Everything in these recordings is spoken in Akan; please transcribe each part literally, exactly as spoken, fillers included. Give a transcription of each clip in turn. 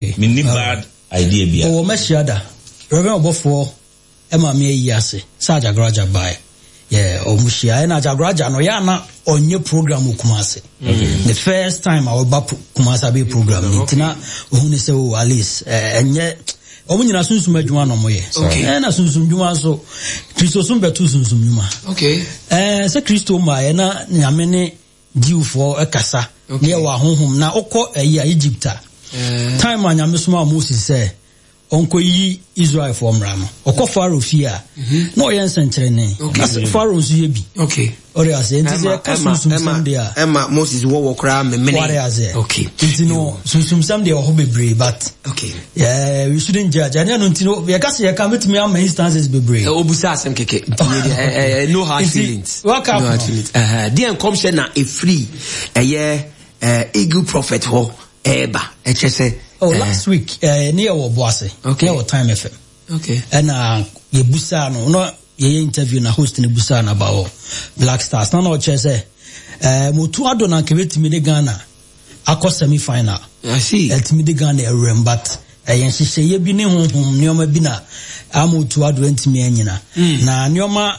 Menni bad idea bia. Ɔwɔ mɛhyia da. Reverend ɔbɔfoɔ ɛma me ayi ase sɛ Ajagraja bae. Yeah, ɔmo hyia. Ɛna Ajagraja no, yɛ ana ɔnyɛ program wɔ Kumase. The first time a ɔba Kumase abɛyɛ program no, nti na ohun ne sɛ, oh, at least ɛnyɛ ɔmo nyinaa sunsum adwuma na ɔmo yɛ. Ɛna sunsum dwuma nso, Kristo som bɛto sunsum dwuma. Okay. Ɛɛ sɛ Kristo ma yɛ na Nyame ne Jewfoɔ ɛkasa. Ne yɛ wɔ ahohom na ɔkɔ ɛyi a Egypt a. Time a Nyame soma Moses sɛ ɔnkɔyi Israelfoɔ mmra no, ɔkɔ Pharaoh fie a, na ɔyɛ nsɛnkyerɛnne. Na Pharaoh nso yɛ bi. Okay. Ɔde ase. Nti sɛ ɛka sunsumsɛm deɛ a, ɛma Moses wɔwɔ koraa memene. Wade ase. Okay. Nti no, sunsumsɛm deɛ wɔ hɔ bebree, but Okay. yeah, we shouldn't judge. Ɛnyɛ no nti no, yɛka sɛ yɛka metumi ama instances bebree. Obusa asɛm kɛkɛ. No hard feelings. World Cup no hard feelings. Deɛ nkɔmhyɛ na ɛfiri ɛyɛ Eagle Prophet hɔ ɛɛba ɛkyɛ sɛ. Oh, last week, eh, ne yɛwɔ Boase. Okay. Ne yɛwɔ Time F M. Okay. Ɛna yɛbusaa no, na yɛyɛ interview na host ne busaa no about Black Stars. Na na ɔkyerɛ sɛ, eh, motu ado na nka bɛtumi de Ghana akɔ semi-final. I see. Ɛtumi de Ghana awuram, but ɛyɛ nhyehyɛeɛ bi ne honhom nneɛma bi na ama otu ado ntumi anyina. Mm. Na nneɛma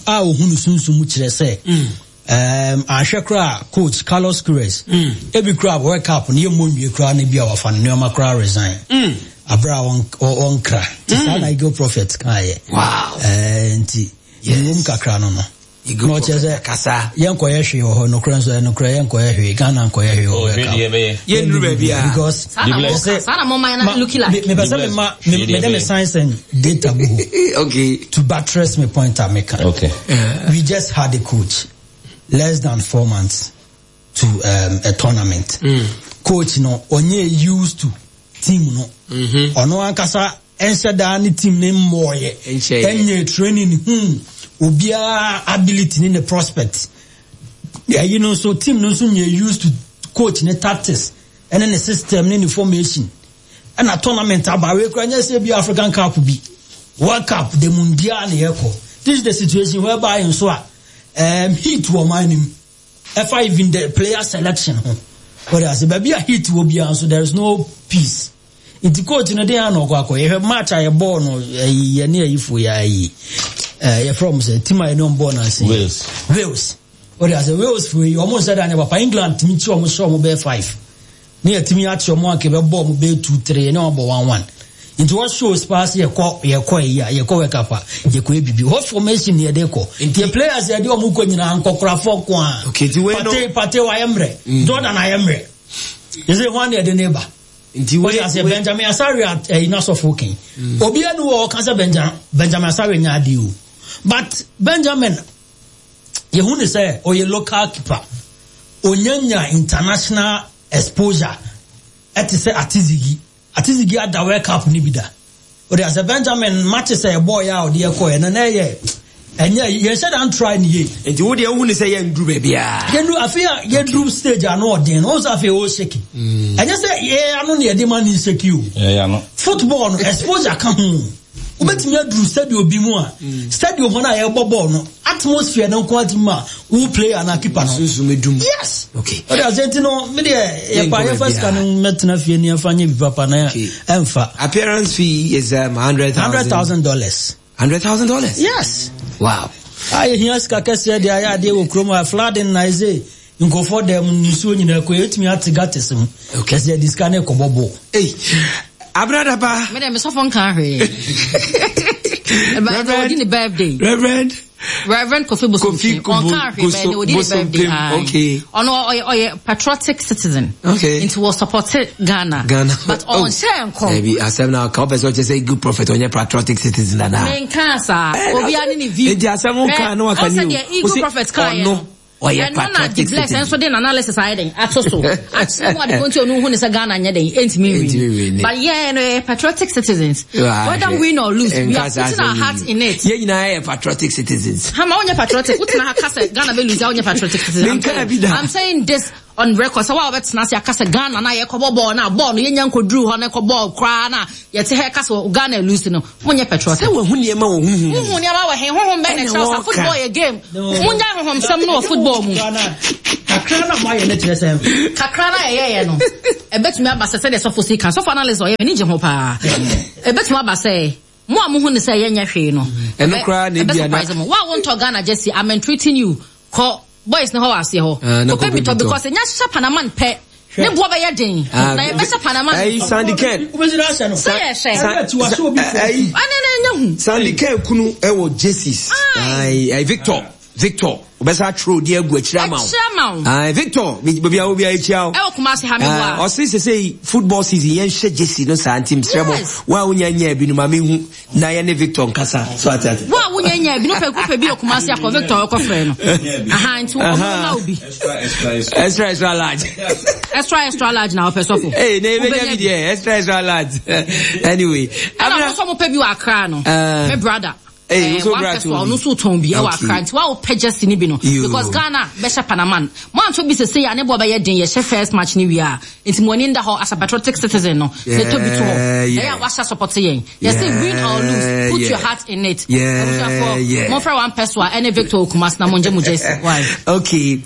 a ohunu sunsum mu kyerɛ sɛ, Mm. Um, ahwɛ koraa coach Carlos Queiroz. Mm. Ebi koraa World Cup no yɛ mmɔ nwie koraa na bi a wafa no nneɛma koraa resign. Mm. Abra a wɔnkra. Nti saa na Eagle Prophet kaeɛ. Wow. Eh, nti Yes. yɛwom kakra no no. Eagle Na ɔkyerɛ Prophet sɛ akasa. yɛnkɔyɛ hwee wɔ hɔ, nokorɛ nso nokorɛ yɛnkɔyɛ hwee, Ghana nkɔyɛ hwee wɔ Oh, World hwee Cup. deɛ ɛbɛyɛ. Yɛnnuru baabi a. Because Saa na Bless. mo- saa na mo man na looking like. me mepɛ sɛ mema me mede me science and data gu hɔ. Okay. To buttress me point a meka. Okay. We just had a coach less than four months to um, a tournament. Mm. Coach no onye used to team no. Mm-hmm. Ono ankasa enhyɛ daa ne team ne mmɔɔyɛ. Enhyɛ yɛ. Enye training hmm obiara ability ne ne prospect. Ɛyi no nso team no nso nye used to coach ne tactics ɛne ne system ne ne formation. Ɛna tournament aba wei kura nyɛ sɛ bi African Cup bi, World Cup de Mundial ne yɛkɔ. This is the situation whereby nso a um, heat wɔ man nim. Ɛfa even the player selection ho. Wɔde ase baabi a heat wɔ biara nso there is no peace. Nti coach no den ano ɔkɔ akɔ yɛhwɛ match a yɛbɔɔ no ɛyi yɛ ne ayifo yɛ ayi ɛɛ yɛfrɛ ɔmo sɛ team a yɛne ɔmo bɔɔ no ase. Wales. Wales. Wɔde ase Wales fo yi ɔmo nhyɛ da nyɛ papa. England tumi kyi ɔmo hyɛ ɔmo bɛyɛ five. Ne yɛ tumi akyi ɔmo anka bɛbɔ ɔmo bɛyɛ two three yɛne ɔmo bɔ one one. Nti wɔ shows paa sɛ yɛkɔ yɛkɔ yi a yɛkɔ World Cup a yɛkɔ yɛ bibi. Hɔ formation yɛde kɔ. Nti yɛ players yɛde ɔmo kɔ nyinaa nkɔkorafoɔ ko a. Okay, nti wei no. Pate Pate wayɛ mmerɛ. Jordan ayɛ mmerɛ. Yɛsɛ hwan na yɛde ne ba. Nti wei Wɔde ase Benjamin Asare ɛyi n'asɔfo kɛn. Obiara ni wɔ ɔka sɛ Benjamin Benjamin Asare nya adi o. But Benjamin yehu ne sɛ ɔyɛ local keeper. Onyanya international exposure. Ɛte sɛ Atizigi. Atizigi ada World Cup ni bi da. Wɔde ase Benjamin match sɛ ɛbɔɔ yɛ a ɔde ɛkɔ yɛ na na ɛyɛ ɛnyɛ yɛn hyɛ dan try ni yie. Nti wo deɛ wohu ne sɛ yɛnduru baabi a. Yɛndu afei a yɛduru stage ano ɔden no, wɔn sɛ afei ɔɔhyɛki. Ɛnyɛ sɛ yɛ ano na yɛde ma ne nhyɛki o. Ɛyɛ ano. Football no exposure ka ho. Wobɛtumi aduru stadium bi mu a, stadium hɔ no a yɛbɔ ball no, atmosphere no nko atumi ma wo player na keeper no. Sunsum edum. Yes. Okay. Ɔde ase nti no, me deɛ yɛpa Yɛnkɔ yɛfa sika no baabiara. mɛtena fie ne yɛmfa nyɛ bi papa na Okay. ɛmfa. Appearance fee is um, hundred thousand. Hundred thousand dollars. Hundred thousand dollars. Yes. Wow. A yɛhia sika kɛseɛ de ayɛ adeɛ wɔ kurom a flooding na ɛsɛ nkurɔfoɔ dɛm nsuo nyinaa kɔ yɛtumi ate gutters mu. Okay. Kɛseɛ de sika no ɛkɔbɔ bɔɔl. Hey, Abradaba. Me dem sɔfo nka hwee. But ɔdi ne birthday. Reverend. Reverend Kofi Bosomtwe. Kofi Ɔnka hwee bɛn ɔdi ne birthday. Bosomtwe. Okay. Ɔno ɔyɛ ɔyɛ patriotic citizen. Okay. Nti wɔ support Ghana. Ghana. But ɔnhyɛ nkɔm. Maybe asɛm na ka wopɛ sɛ ɔkyɛ sɛ good prophet ɔnyɛ patriotic citizen dada. Menka saa. Obi ani ne view. Nti asɛm nka na waka ni o. Ɔsɛ deɛ Eagle Prophet ka yɛ no. Ɔyɛ Ɛno na patriotic the bless citizen. nso de n'analysis ayɛ den ato so. Akyerɛ mu ade konti ɔno hu ne sɛ Ghana nyɛ den ɛntumi Ɛntumi nwin. nwin. But yɛn no yɛ patriotic citizens. Whether win or lose, we are putting our heart in it. Yɛn nyinaa yɛ patriotic citizens. Hama wonyɛ patriotic. Wotena ha ka sɛ Ghana bɛ lose a wonyɛ patriotic citizen. I'm Menka saying, bi da. I'm saying this on record sɛ wa wɔbɛtena ase aka sɛ Ghana na yɛkɔbɔ bɔɔl na bɔɔl no yɛnya nkɔduru hɔ na ɛkɔ bɔɔl koraa na yɛte ha ɛka sɛ Ghana lose no, monyɛ patriotic. Sɛ wahu nneɛma wɔ honhom mu. Wohu nneɛma wɔ he? Honhom bɛn na ɛkyerɛ wo sɛ football yɛ game? Mongyae honhomsɛm no wɔ football mu. Kakra na moayɛ no kyerɛ sɛ. Kakra na yɛyɛeɛ no, ɛbɛtumi aba sɛ sɛdeɛ sɔfo si ka, sɔfo analyst ɔyɛ, m'ani gye ho paa. Ɛbɛtumi aba sɛ mo a mohu no sɛ yɛnyɛ hwee no, Ɛno koraa na ɛbɛ ebia na surprise mo. Wo a wontɔ Ghana jersey, I'm entreating you, kɔ boys no hɔ wɔ aseɛ hɔ. Ah, na Kɔpɛ bi kɔpɛ tɔ bi tɔ. because ɛnya hyɛ Panaman pɛ, ne boɔ bɛyɛ den. Ah, Na yɛbɛhyɛ Panaman. Ɛyi Sandy Ken. Wobɛsi no ahyɛ no. Sɛ yɛhyɛ. Ɛyɛ tiwa sɛ obi fo. Ɛyi Ɛne ne nyɛ hu. Sandy Ken kunu ɛwɔ jerseys. Ayi ayi Victor Victor obɛsa atwerɛ odi agu akyire ama wo. Akyire ama wo. Ayi Victor baabi a wo bi akyia wo. Ɛwɔ Kumasi ha me Ah, boa. ɔse sesei football season yɛnhyɛ jersey no saa nti mesrɛ mo Yes. wo a wonya nyaa bi no ma mehu na yɛne Victor nkasa so ate ate. Wo a wonya nya bi no pɛ kɔpɛ bi wɔ Kumasi akɔ Victor ɔkɔ frɛ no. Aha nti ɔmo ma wo bi. Extra, extra, extra. Extra extra large. Extra extra large na ɔpɛ sɔfo. Hey, na ebenya bi deɛ extra extra large. Anyway, Ɛna Abena ɔmo nso ɔmo pɛ bi wɔ Accra no. Eh. Me brother. Hey, Eh, nso one bra person to ɔno bi. nso tɔn bi ɛwɔ Okay. Accra nti wa wopɛ jersey ni bi no Yo. because Ghana bɛhyɛ Panaman mo anto bi sese a ne bɔ bɛyɛ den yɛhyɛ first match ni wie a nti mo ani nda hɔ as a patriotic citizen no na ɛtɔ bi to hɔ Yeah, yeah. ɛyɛ a wahyɛ support yɛn yɛsɛ win or lose put Yeah. your heart in it Yeah, Abusuafoɔ, yeah. momfrɛ one person a ɛne Victor Okumasi na mongye mo jersey why Okay.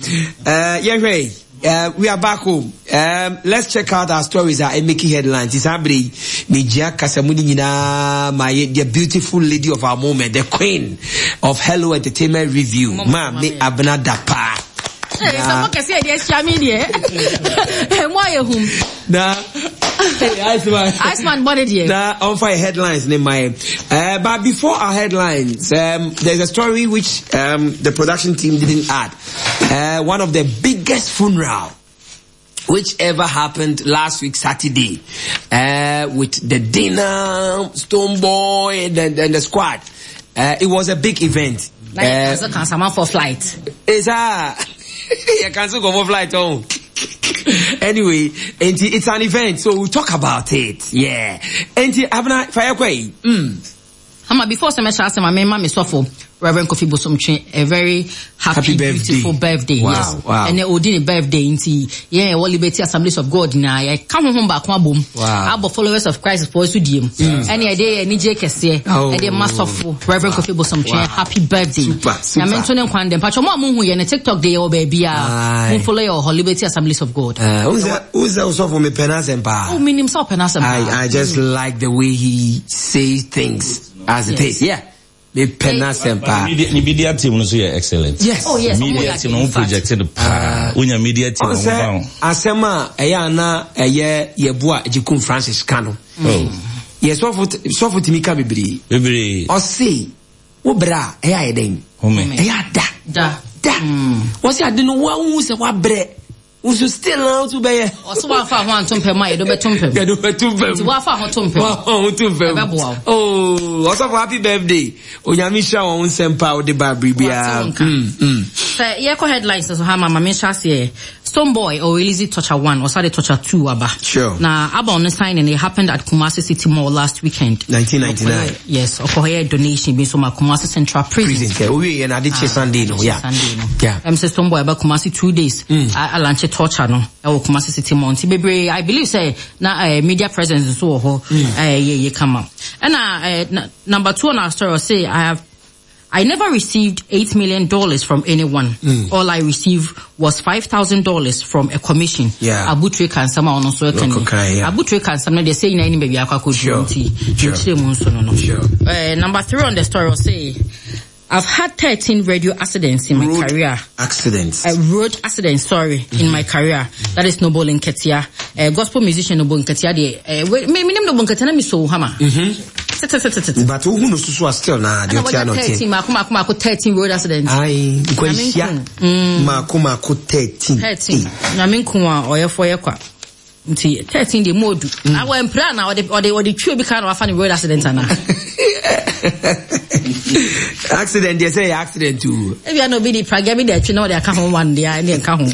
Uh, yeah, right. Uh, we are back home. Um, let's check out our stories are making headlines. It's Abre, Nijia Kasamuni Nyina, my the beautiful lady of our moment, the queen of Hello Entertainment Review, Ma me Abena Dapa. Hey, sɛ mo kɛse yɛ deɛ ahyia me deɛ mo ayɛ hum Na, hey, Iceman. Iceman bɔ ne deɛ Now, on fire headlines, name my. Uh, but before our headlines, um, there's a story which um, the production team didn't add. Uh, one of the biggest funeral which ever happened last week Saturday, uh, with the dinner, Stone Boy, and, the, and the squad. Uh, it was a big event. na yɛ Uh, cancel cancel man for flight it's a you cancel go for flight home. Anyway, and it's an event, so we'll talk about it. Yeah. And Abena fire kwai. Mm. Ama before sɛ mɛhyɛ ase ma mema me sɔfo Reverend Kofi Bosomtwe a very happy, Happy birthday. beautiful birthday. Wow, yes. wow. Ɛnɛ odi ne birthday nti yɛn ɛwɔ Liberty Assemblies of God na yɛka honhom baako abom. Wow. Abɔ followers of Christ foɔ so die mu. Ɛne ɛde yɛ anigye kɛseɛ. Oh. Ɛde ma sɔfo Reverend Kofi Bosomtwe Wow. happy birthday. Super, super. Nyame nto ne nkwan dɛm. Patro mo a monhu yɛ ne TikTok de yɛwɔ baabi a. Aye. Mo follow yɛ wɔ hɔ Liberty Assemblies of God. Uh, who's that? Who's that? For me, penas Oh, minim sɛ ɔpɛ n'asɛm paa. I I just like the way he says things as it Yes. is. Yeah. Me penas But media, the media team no so yɛ excellent. Yes. Oh, yes. Media Ɔmo yɛ team no in fact. projected paa. Wonya media team no Ɔn sɛ ho ba asɛm a ɛyɛ ana ɛyɛ yɛbo a Gyekum Francis ka no. wo. Oh, Yɛ sɔfo sɔfo tumi ka bebree. bebree. Ɔse wo brɛ a ɛyɛ ayɛ dɛn? Home. Ɛyɛ ada. Da. Da. Wɔse ade no woahu sɛ woabrɛ. Wo so still na wo so bɛyɛ. Ɔso wafa ho anto mpɛ mu a yɛde wobɛto mpɛ mu. Yɛde wobɛto mpɛ mu. Nti wafa ho to mpɛ mu. Wafa ho to mpɛ mu. Ɛbɛboa wo. Oh, ɔsɔfo happy birthday. Onyame hyira wɔn wo nsɛm pa a wode ba biribiara. Wate wo nka. Mm, mm. Sɛ yɛkɔ headlines so ha ma ma menhyɛ aseɛ Stone Boy or release Torture one or sade Torture two aba. Sure. Na aba on the signing it happened at Kumasi City Mall last weekend. nineteen ninety-nine. Ɔkɔyɛ- Yes, ɔkɔyɛ donation bi nso ma Kumasi Central Prison. Prison. Owie yɛ na ade kye Sunday no. Yeah. Sunday no. Yeah. Um, sɛ Stone Boy aba Kumasi two days. Mm. A launch Torture no ɛwɔ Kumasi City Mall. Nti bebree I believe sɛ na uh, media presence nso wɔ hɔ. Eh yɛ yɛ kama. Ɛna eh, na, number two on our story say I have I never received eight million dollars from anyone. Mm. All I received was five thousand dollars from a commission. Yeah. Abutre kansam a ɔno nso ɛka ni. Ɔkɔkae, yeah. Abutre kansam no deɛ sɛ nyinaa anim baabi akɔ akɔduru Sure. nti, Sure. nkyerɛ mu nso no no. Sure. Eh, number three on the story will say, I've had thirteen radio accidents in my Road career. Accidents. Uh, road accidents, sorry, mm-hmm. in my career. That is Noble Nketia. Uh, gospel musician Noble Nketia. De, uh, wait, me, me name Noble Nketia, na me so hama. Mm-hmm. But who knows so still na the Ɛna wɔnyɛ thirteen mako mako mako thirteen road accidents. Aye, nkwanhyia. Mako mako thirteen. Thirteen. Nyame nko a ɔyɛfo yɛ kwa. Nti thirteen de mu odu. Na wɔ mpira na ɔde ɔde ɔde twi obi ka na wafa ne road accident ana. Accident they say accident too. Ebi ana obi di pragya bi de atwi na ɔde aka ho one de ne nka ho.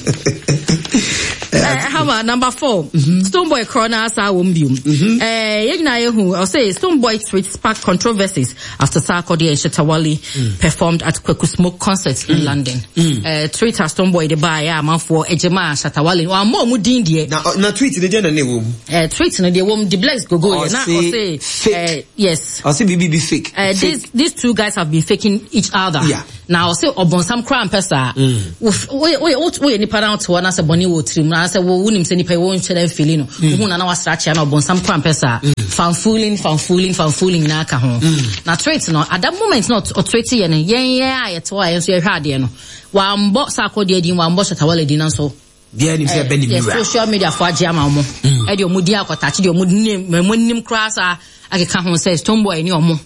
Eh, Hama, number four. Mm-hmm. Stonebwoy Corona asa wɔ biom. Mm-hmm. Eh, yɛn nyinaa yɛhu, ɔsɛ Stonebwoy tweet sparked controversies after Sarkodie and Shatta Wale mm. performed at Kweku Smoke concert mm. in London. Mm. Eh, tweet a Stonebwoy de baeɛ a amanfoɔ agyema a Shatta Wale, wammɔ ɔmo din deɛ. Na, na tweet ne deɛ na ne wɔ mu? Eh, tweet no deɛ wɔ mu, de Bless Gogo yɛ, na ɔsɛ, fake. Eh, yes. Ɔsɛ biribi bi fake. Eh, fake. These, these two guys have been faking each other. Yeah. Na ɔsɛ ɔbɔnsam koraa mpɛ saa. Woyɛ nipa na wote hɔ na sɛ bɔne wɔ tirim na sɛ wonim sɛ nipa yi wonhyɛ da mfili no. Wohu na na wasra kyea na ɔbɔnsam koraa mpɛ saa. Fanfooling, fanfooling, fanfooling nyinaa ka ho. Na tweet no, at that moment na ɔtweet yɛ no, yɛn yɛn a yɛte hɔ a yɛn nso yɛhwɛ adeɛ no, wambɔ Sarkodie din, wambɔ Shatta Wale din nanso Biara nim sɛ ɛbɛ ne yɛ wura. social media fo agye ama ɔmo. Ɛde ɔmo din akɔtakye deɛ ɔmo nim, ɔmo nim koraa saa akeka ho sɛ Stonebwoy ne ɔmo.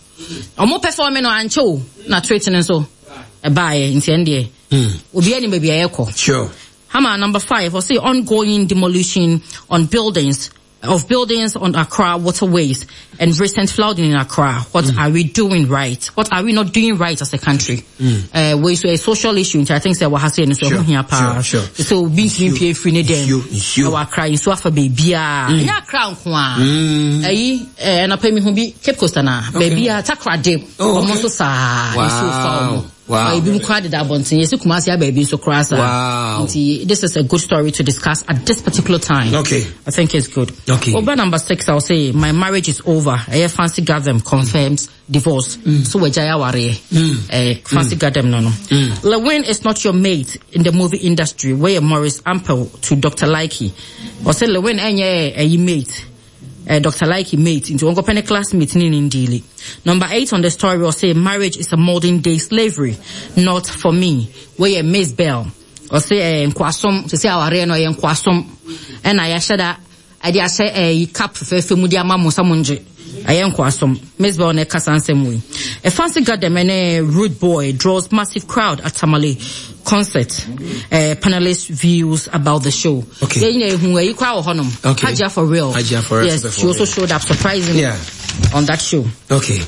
Ɔmo perform no ankyɛ o, na tweet no nso ɛbaeɛ nti ɛn deɛ obiara nim baabi a yɛkɔ. Sure. Hama number five, ɔse ongoing demolition on buildings of buildings on Accra waterways and recent flooding in Accra. What mm. are we doing right? What are we not doing right as a country? Mm. Uh, we so a social issue. I think say what has so Sure, here pa. sure, sure. So being P free ne dem. Nsuo, nsuo. Ɛwɔ Accra nsuo afa baabi a. Ɛnyɛ Accra nko a. Ɛyi eh na pɛ mi ho bi Cape Coast na baabi a Takoradi. Oh, Ɔmo okay. nso saa Wow. nsuo fa ɔmo. Wow. Ebi mu koraa deda abɔnten. Yɛsi Kumasi aba ebi nso koraa saa. Wow. Nti this is a good story to discuss at this particular time. Okay. I think it's good. Okay. Over number six, I'll say my marriage is over. Ɛyɛ Fancy Gadam confirms divorce. Mm. So wagyae awareɛ. Eh, Fancy Gadam no no. Lewin is not your mate in the movie industry. Where Maurice Ampel to Doctor Likey. Ɔsɛ Lewin ɛnyɛ ɛyi mate. Uh, Doctor Likey mate into Uncle Penny classmate ni ndili. Number eight on the story will say marriage is a modern day slavery, not for me. Where Miss Bell or say nkwasom to say aware no ye nkwasom. And I yɛahyɛ da ɛde ahyɛ ɛyi cap fɛfɛ mu de ama mo sɛ mo ngye. Ɛyɛ nkwasom. Miss Bell na ɛkasa nsɛm wei. A Fancy Gadam ne Rude Boy draws massive crowd at Tamale concert. Uh, panelists views about the show. Okay. Yɛn nyinaa ehu ɛyi koraa wɔ hɔnom. Okay. Hajia for real. Hajia for real Yes, performed. she also showed up surprisingly Yeah. on that show. Okay.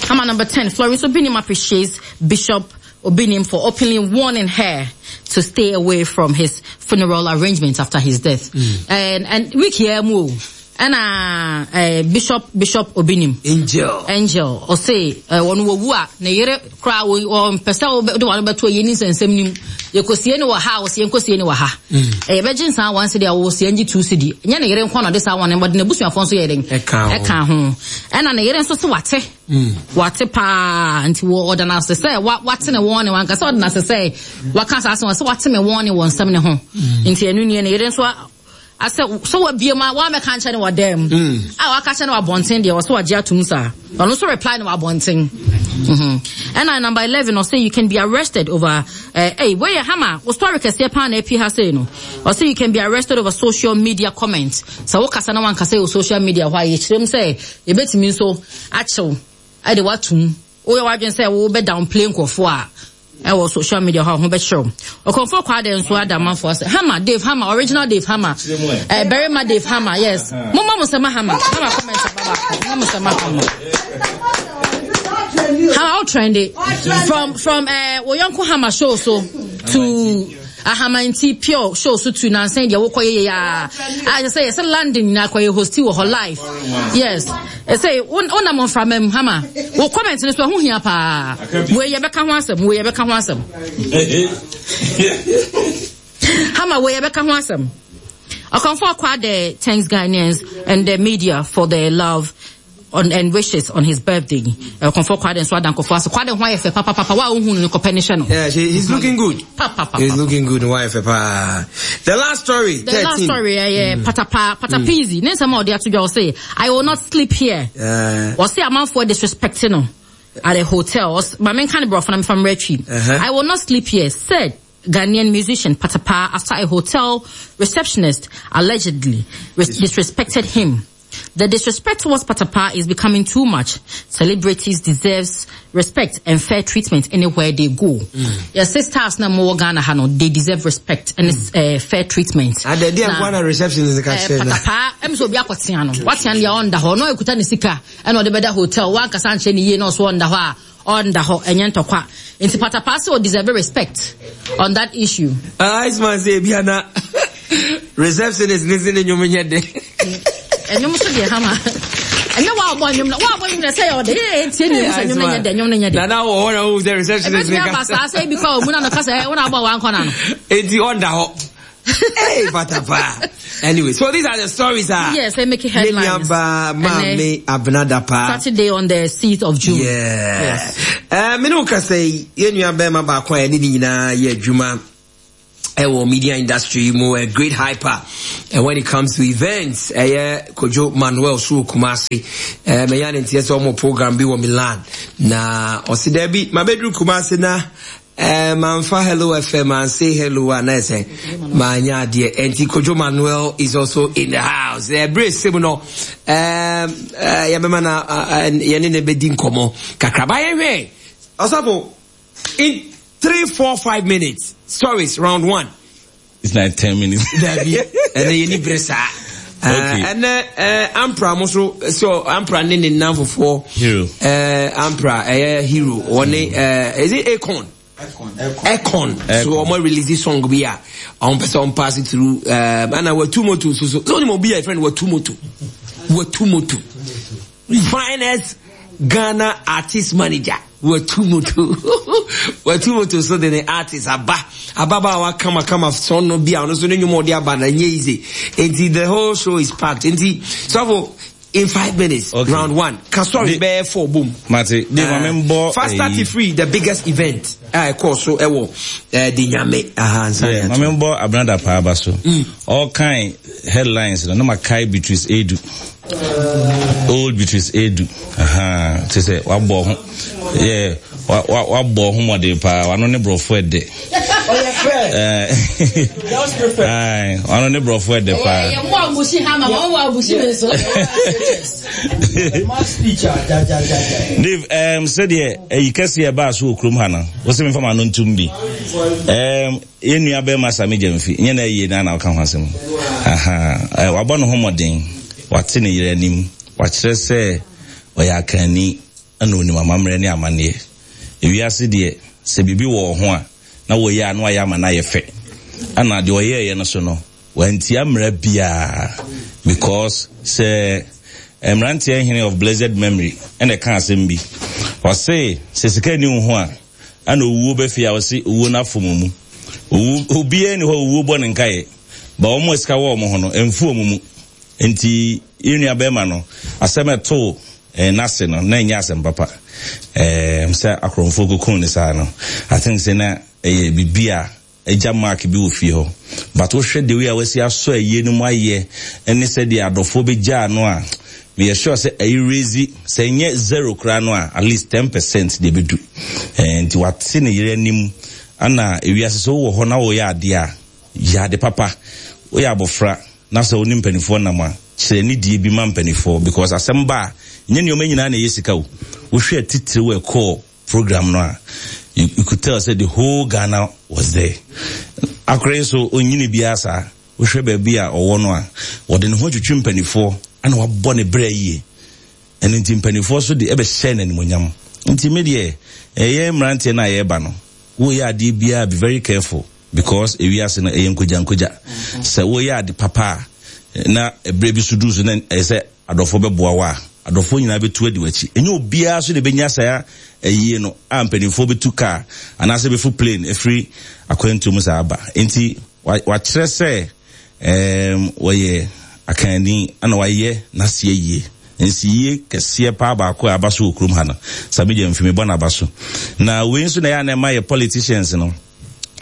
Hammer number ten, Florence Obinim appreciates Bishop Obinim for openly warning her to stay away from his funeral arrangements after his death. Mm. And, and week here, mo, and uh, uh, Bishop, Bishop Obinim. Angel. Angel, ɔse eh, ɔno wawu a ne yere koraa wɔ- ɔmpɛ sɛ wobɛ- wode wano bɛto yɛ ni nsɛnsɛm nim yɛkɔsie ne wɔ ha a wɔsie nkɔsie ne wɔ ha. Eh, yɛbɛgye nsaa one cedi a wɔsie ngye two cedi. Ɛnyɛ ne yere nko na ɔde saa one no, ɔde n'abusuafoɔ nso yɛ den Ɛka ho. ɛka ho. Ɛna ne yere nso se wate. Wate paa nti wɔ ɔda no ase sɛ wa- wate ne wɔn ne wanka sɛ ɔda no ase sɛ waka saa asɛm sɛ wate me wɔn ne wɔ nsɛm ne ho. Nti ɛno nie ne yere nso a- asɛ sɛ wabie mu a wamɛka nkyɛn ne wɔ dan mu. A waka kyerɛ no wɔ abɔnten deɛ ɔsɛ wagye atom saa. Ɔno nso reply no wɔ abɔnten. Mhm. Ɛna number eleven ɔsɛ you can be arrested over eh hey wei yɛ Hama wo story kɛseɛ paa na api ha sei no. Ɔsɛ you can be arrested over social media comments. Sɛ wokasa na wankasa wɔ social media hɔ a yɛkyerɛ mu sɛ yɛbɛtumi nso akyew ɛde watom. Woyɛ w'adwene sɛ wobɛ downplay nkurɔfoɔ a ɛwɔ social media hɔ a ho bɛkyerɛw. Ɔkɔmfoɔ Kwade nso ada amanfoɔ sɛ Hama Dave Hama original Dave Hama. Eh Berima Dave Hama yes. Momma mo sɛma Hama. Hama comment aba baako. Momma mo sɛma Hama. Hama all trendy from from eh Oyonko Hama show so to Ahamanti Pure show so to nansen deɛ wokɔ yɛ ya. I say yes London na kɔ yɛ hosti wɔ hɔ live. Yes. I say wonam mframa mu Hama. Wo comment no so ho hia paa. We yɛbɛka ho asɛm, we yɛbɛka ho asɛm. Hama we yɛbɛka ho asɛm. Okomfo Kwade thanks Ghanaians and the media for their love on and wishes on his birthday. Okomfo Kwade nso adankofo ase. Kwade ho ayɛ fɛ papa papa wa ohun no kɔpɛ ne hyɛ no. Yeah, she, he's looking good. Papa papa. He's looking good. Wife, pa. The last story. The last story, yeah, yeah, mm. Patapa, Patapizi. Mm. Nsɛm a ɔde ato dwa ɔse, I will not sleep here. Uh, Ɔse amanfoɔ disrespecting no at a hotel. Ɔse, ma menka ne borɔfo na mefa mmerɛ twi. Uh-huh. I will not sleep here, said Ghanaian musician Patapa after a hotel receptionist allegedly res- disrespected him. The disrespect towards Patapa is becoming too much. Celebrities deserves respect and fair treatment anywhere they go. Mm. Your sisters na more Ghana hano, they deserve respect and mm. uh, fair treatment. And the day I'm reception is the catch. Patapa, em so bi akotia no. Watia ne onda ho, no ekuta ne sika, e no de beda hotel, wan kasa nche ne ye no so onda ho a, onda ho enye ntokwa. Nti Patapa so deserve respect on that issue. Ah, uh, man say biana. Receptionist ne se ne nnwom nyɛ de. Ɛnwom so deɛ hama. Ɛnyɛ wa ɔbɔ nnwom na wa ɔbɔ nnwom na sɛ yɛ ɔde yɛ tie ne sɛ nnwom nyɛ de nnwom nyɛ de. Nana wɔ hɔ na wo sɛ receptionist ne ka. Ɛbɛtumi aba saa sɛ ebi kɔ ɔmu na no kasa ɛ wɔn abɔ wɔn akɔ na no. Eti ɔda hɔ. Hey, patapa. Anyway, so these are the stories. Ah, yes, they make headlines. Maame Abena Dapaah. Saturday on the sixth of June. Yeah. Yes. Eh, me no kasa yi, ye nua bema baako a ne ne nyinaa yɛ adwuma ɛwɔ media industry mu, a great hyper. And when it comes to events, ɛyɛ Kojo Manuel so Kumasi. Eh, me ya ne ntiɛ sɛ ɔmo program bi wɔ Milan. Na ɔsi dɛbi, mabeduru Kumasi na Eh, manfa Hello F M and say hello and I say manya dear. Enti Kojo Manuel is also in the house. Eh, brace no. Eh, eh, ya be na ye ne ne bedi nkomo. Kakra ba ye hwe. Osafo, in three, four, five minutes. Stories round one. It's like ten minutes. Dabi. And then you need bresa. Okay. Uh, and uh, uh, Ampra also, so Ampra ne ne nan for hero. Uh, Ampra, uh, hero. One, uh, is it Akon? Akon. Akon. So I'm release this song be a on person pass it through. Um, and I were two moto. So so so only be a friend were two moto. Were two moto. Finest Ghana artist manager. Were two moto. Were two moto. So then the artist aba ababa wa kama kama son no be on so no more dia ba na easy. Until the whole show is packed. Until so for in five minutes, okay. Round one. Can story bear four boom. Mate, the uh, Fast thirty free, the biggest event. I call so ewo eh di nyame. Aha, yeah, mamembo Abena Dapaah ba so. All kind headlines no ma kai Beatrice Edu. Old Beatrice Edu. Aha, te say wa bo ho. Yeah, wa wa wa bo ho mode pa, wa no ne brofo ede. Eh. Ai, wa no ne brofo ede pa. Eh, mo abushi ha ma, mo abushi me so. Dave, um said here, eh kese e ba so okrom ha na. Wo se me fa ma no ntum bi. Um enua be ma Sammy Gyamfi, nye na ye na na ka ho asem. Aha, wa bo no ho modern. Wate ne yere anim, wa kyerɛ sɛ ɔyɛ akani ana onim amammerɛ ne amanneɛ. Ewiase deɛ sɛ biribi wɔ ho a na wɔyɛ a na wɔayɛ ama na yɛ fɛ. Ana deɛ ɔyɛɛyɛ no so no, wantia mmara biara because sɛ mmeranteɛ hene of blessed memory ɛna ɛka asɛm bi. Ɔse sɛ sika ni wo ho a ana owuo bɛfie a ɔse owuo no afom mu. Owu obiara ni hɔ owuo bɔ ne nkaeɛ. Ba wɔn a sika wɔ wɔn ho no ɛmfu wɔn mu. Nti yɛnua bɛrima no asɛm ɛto eh nase no na ɛnyɛ asɛm papa. Eh sɛ akorɔmfoɔ kokon ne saa no. I think sɛ na ɛyɛ biribi a ɛgya mark bi wɔ fie hɔ. But wohwɛ the way a wasi asɔ ayie no mu ayɛ ɛne sɛdeɛ adɔfoɔ bɛgyaa no a meyɛ sure sɛ ɛyɛ raise sɛ ɛnyɛ zero koraa no a at least ten percent deɛ bɛdu. Eh nti wate ne yere anim ana ewiase sɛ wowɔ hɔ na woyɛ adeɛ a yɛ ade papa. Woyɛ abɔfra na sɛ wonim mpanifoɔ nam a kyerɛ ne die bi ma mpanifoɔ because asɛm ba a nyɛ nneɛma nyinaa na ɛyɛ sika o. Wohwɛ titire wɔ ɛkɔɔ program no a you, you could tell say the whole Ghana was there. Akore so onyini bia saa wohwɛ baabi a ɔwɔ no a wɔde ne ho twetwe mpanifoɔ ana wabɔ ne brɛ yie. Ɛno nti mpanifoɔ so de ɛbɛhyɛ n'animonyam. Nti me deɛ ɛyɛ mmeranteɛ no a yɛreba no woyɛ adeɛ biara be very careful because ewiase no ɛyɛ nkogya nkogya. Sɛ woyɛ ade papa a na ɛberɛ bi so duru so na ɛyɛ sɛ adɔfoɔ bɛboa wo a adɔfoɔ nyinaa bɛtu adi w'akyi. Ɛnyɛ obiara so de bɛnya saa ɛyie no a mpanimfoɔ bɛtu kaa anaasɛ bɛfu plane ɛfiri akwantuo mu saa aba. Nti wakyerɛ sɛ ɛɛm wɔyɛ akanni ana wayɛ n'aseɛ yie. Nsi yie kɛseɛ paa baako a aba so wɔ kurom ha no Sammy Gyamfi mebɔ n'aba so. Na wei nso na ɛyɛ a na ɛma yɛ politicians no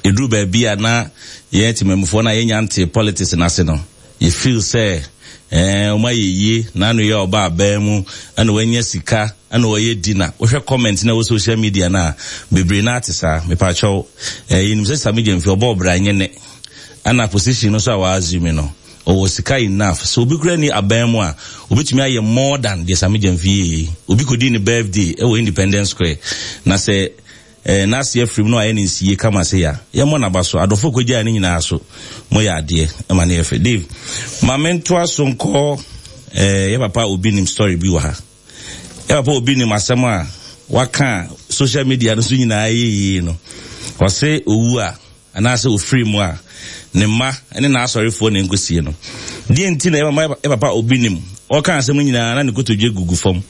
ɛduru baabi a na yɛn temamufoɔ no a yɛnya nte politics n'ase no you feel sɛ eh ɔmo ayɛ yie na ano yɛ ɔba abɛn mu ɛna wanya sika ɛna ɔyɛ dinner. Wohwɛ comment na ɛwɔ social media na bebree na ate saa. Mepakyɛw eh yɛnim sɛ Sammy Gyamfi ɔbɔ ɔbra nyɛ ne ɛna position no so a wɔassume no ɔwɔ sika enough. So obi kura ni abɛn mu a obetumi ayɛ more than deɛ Sammy Gyamfi yɛ yi. Obi kɔdi ne birthday ɛwɔ Independence Square na sɛ eh n'ase afiri mu na wayɛ ne nsie kama sɛ ya yɛmmɔ n'aba so adɔfo kɔgyaa ne nyinaa so mo yɛ adeɛ ɛma ne yɛ fɛ. Dave, ma mentoa so nkɔ eh yɛ papa obi nim story bi wɔ ha. Yɛ papa obi nim asɛm a waka social media no so nyinaa yɛ yie no. Ɔse owu a anaasɛ ofiri mu a Ne mma ne n'asɔrefoɔ na ɛnkɔsie no. Deɛ nti na ɛbɛma yɛ papa Obinim ɔka asɛm no nyinaa na ne kotodwe gugu fam?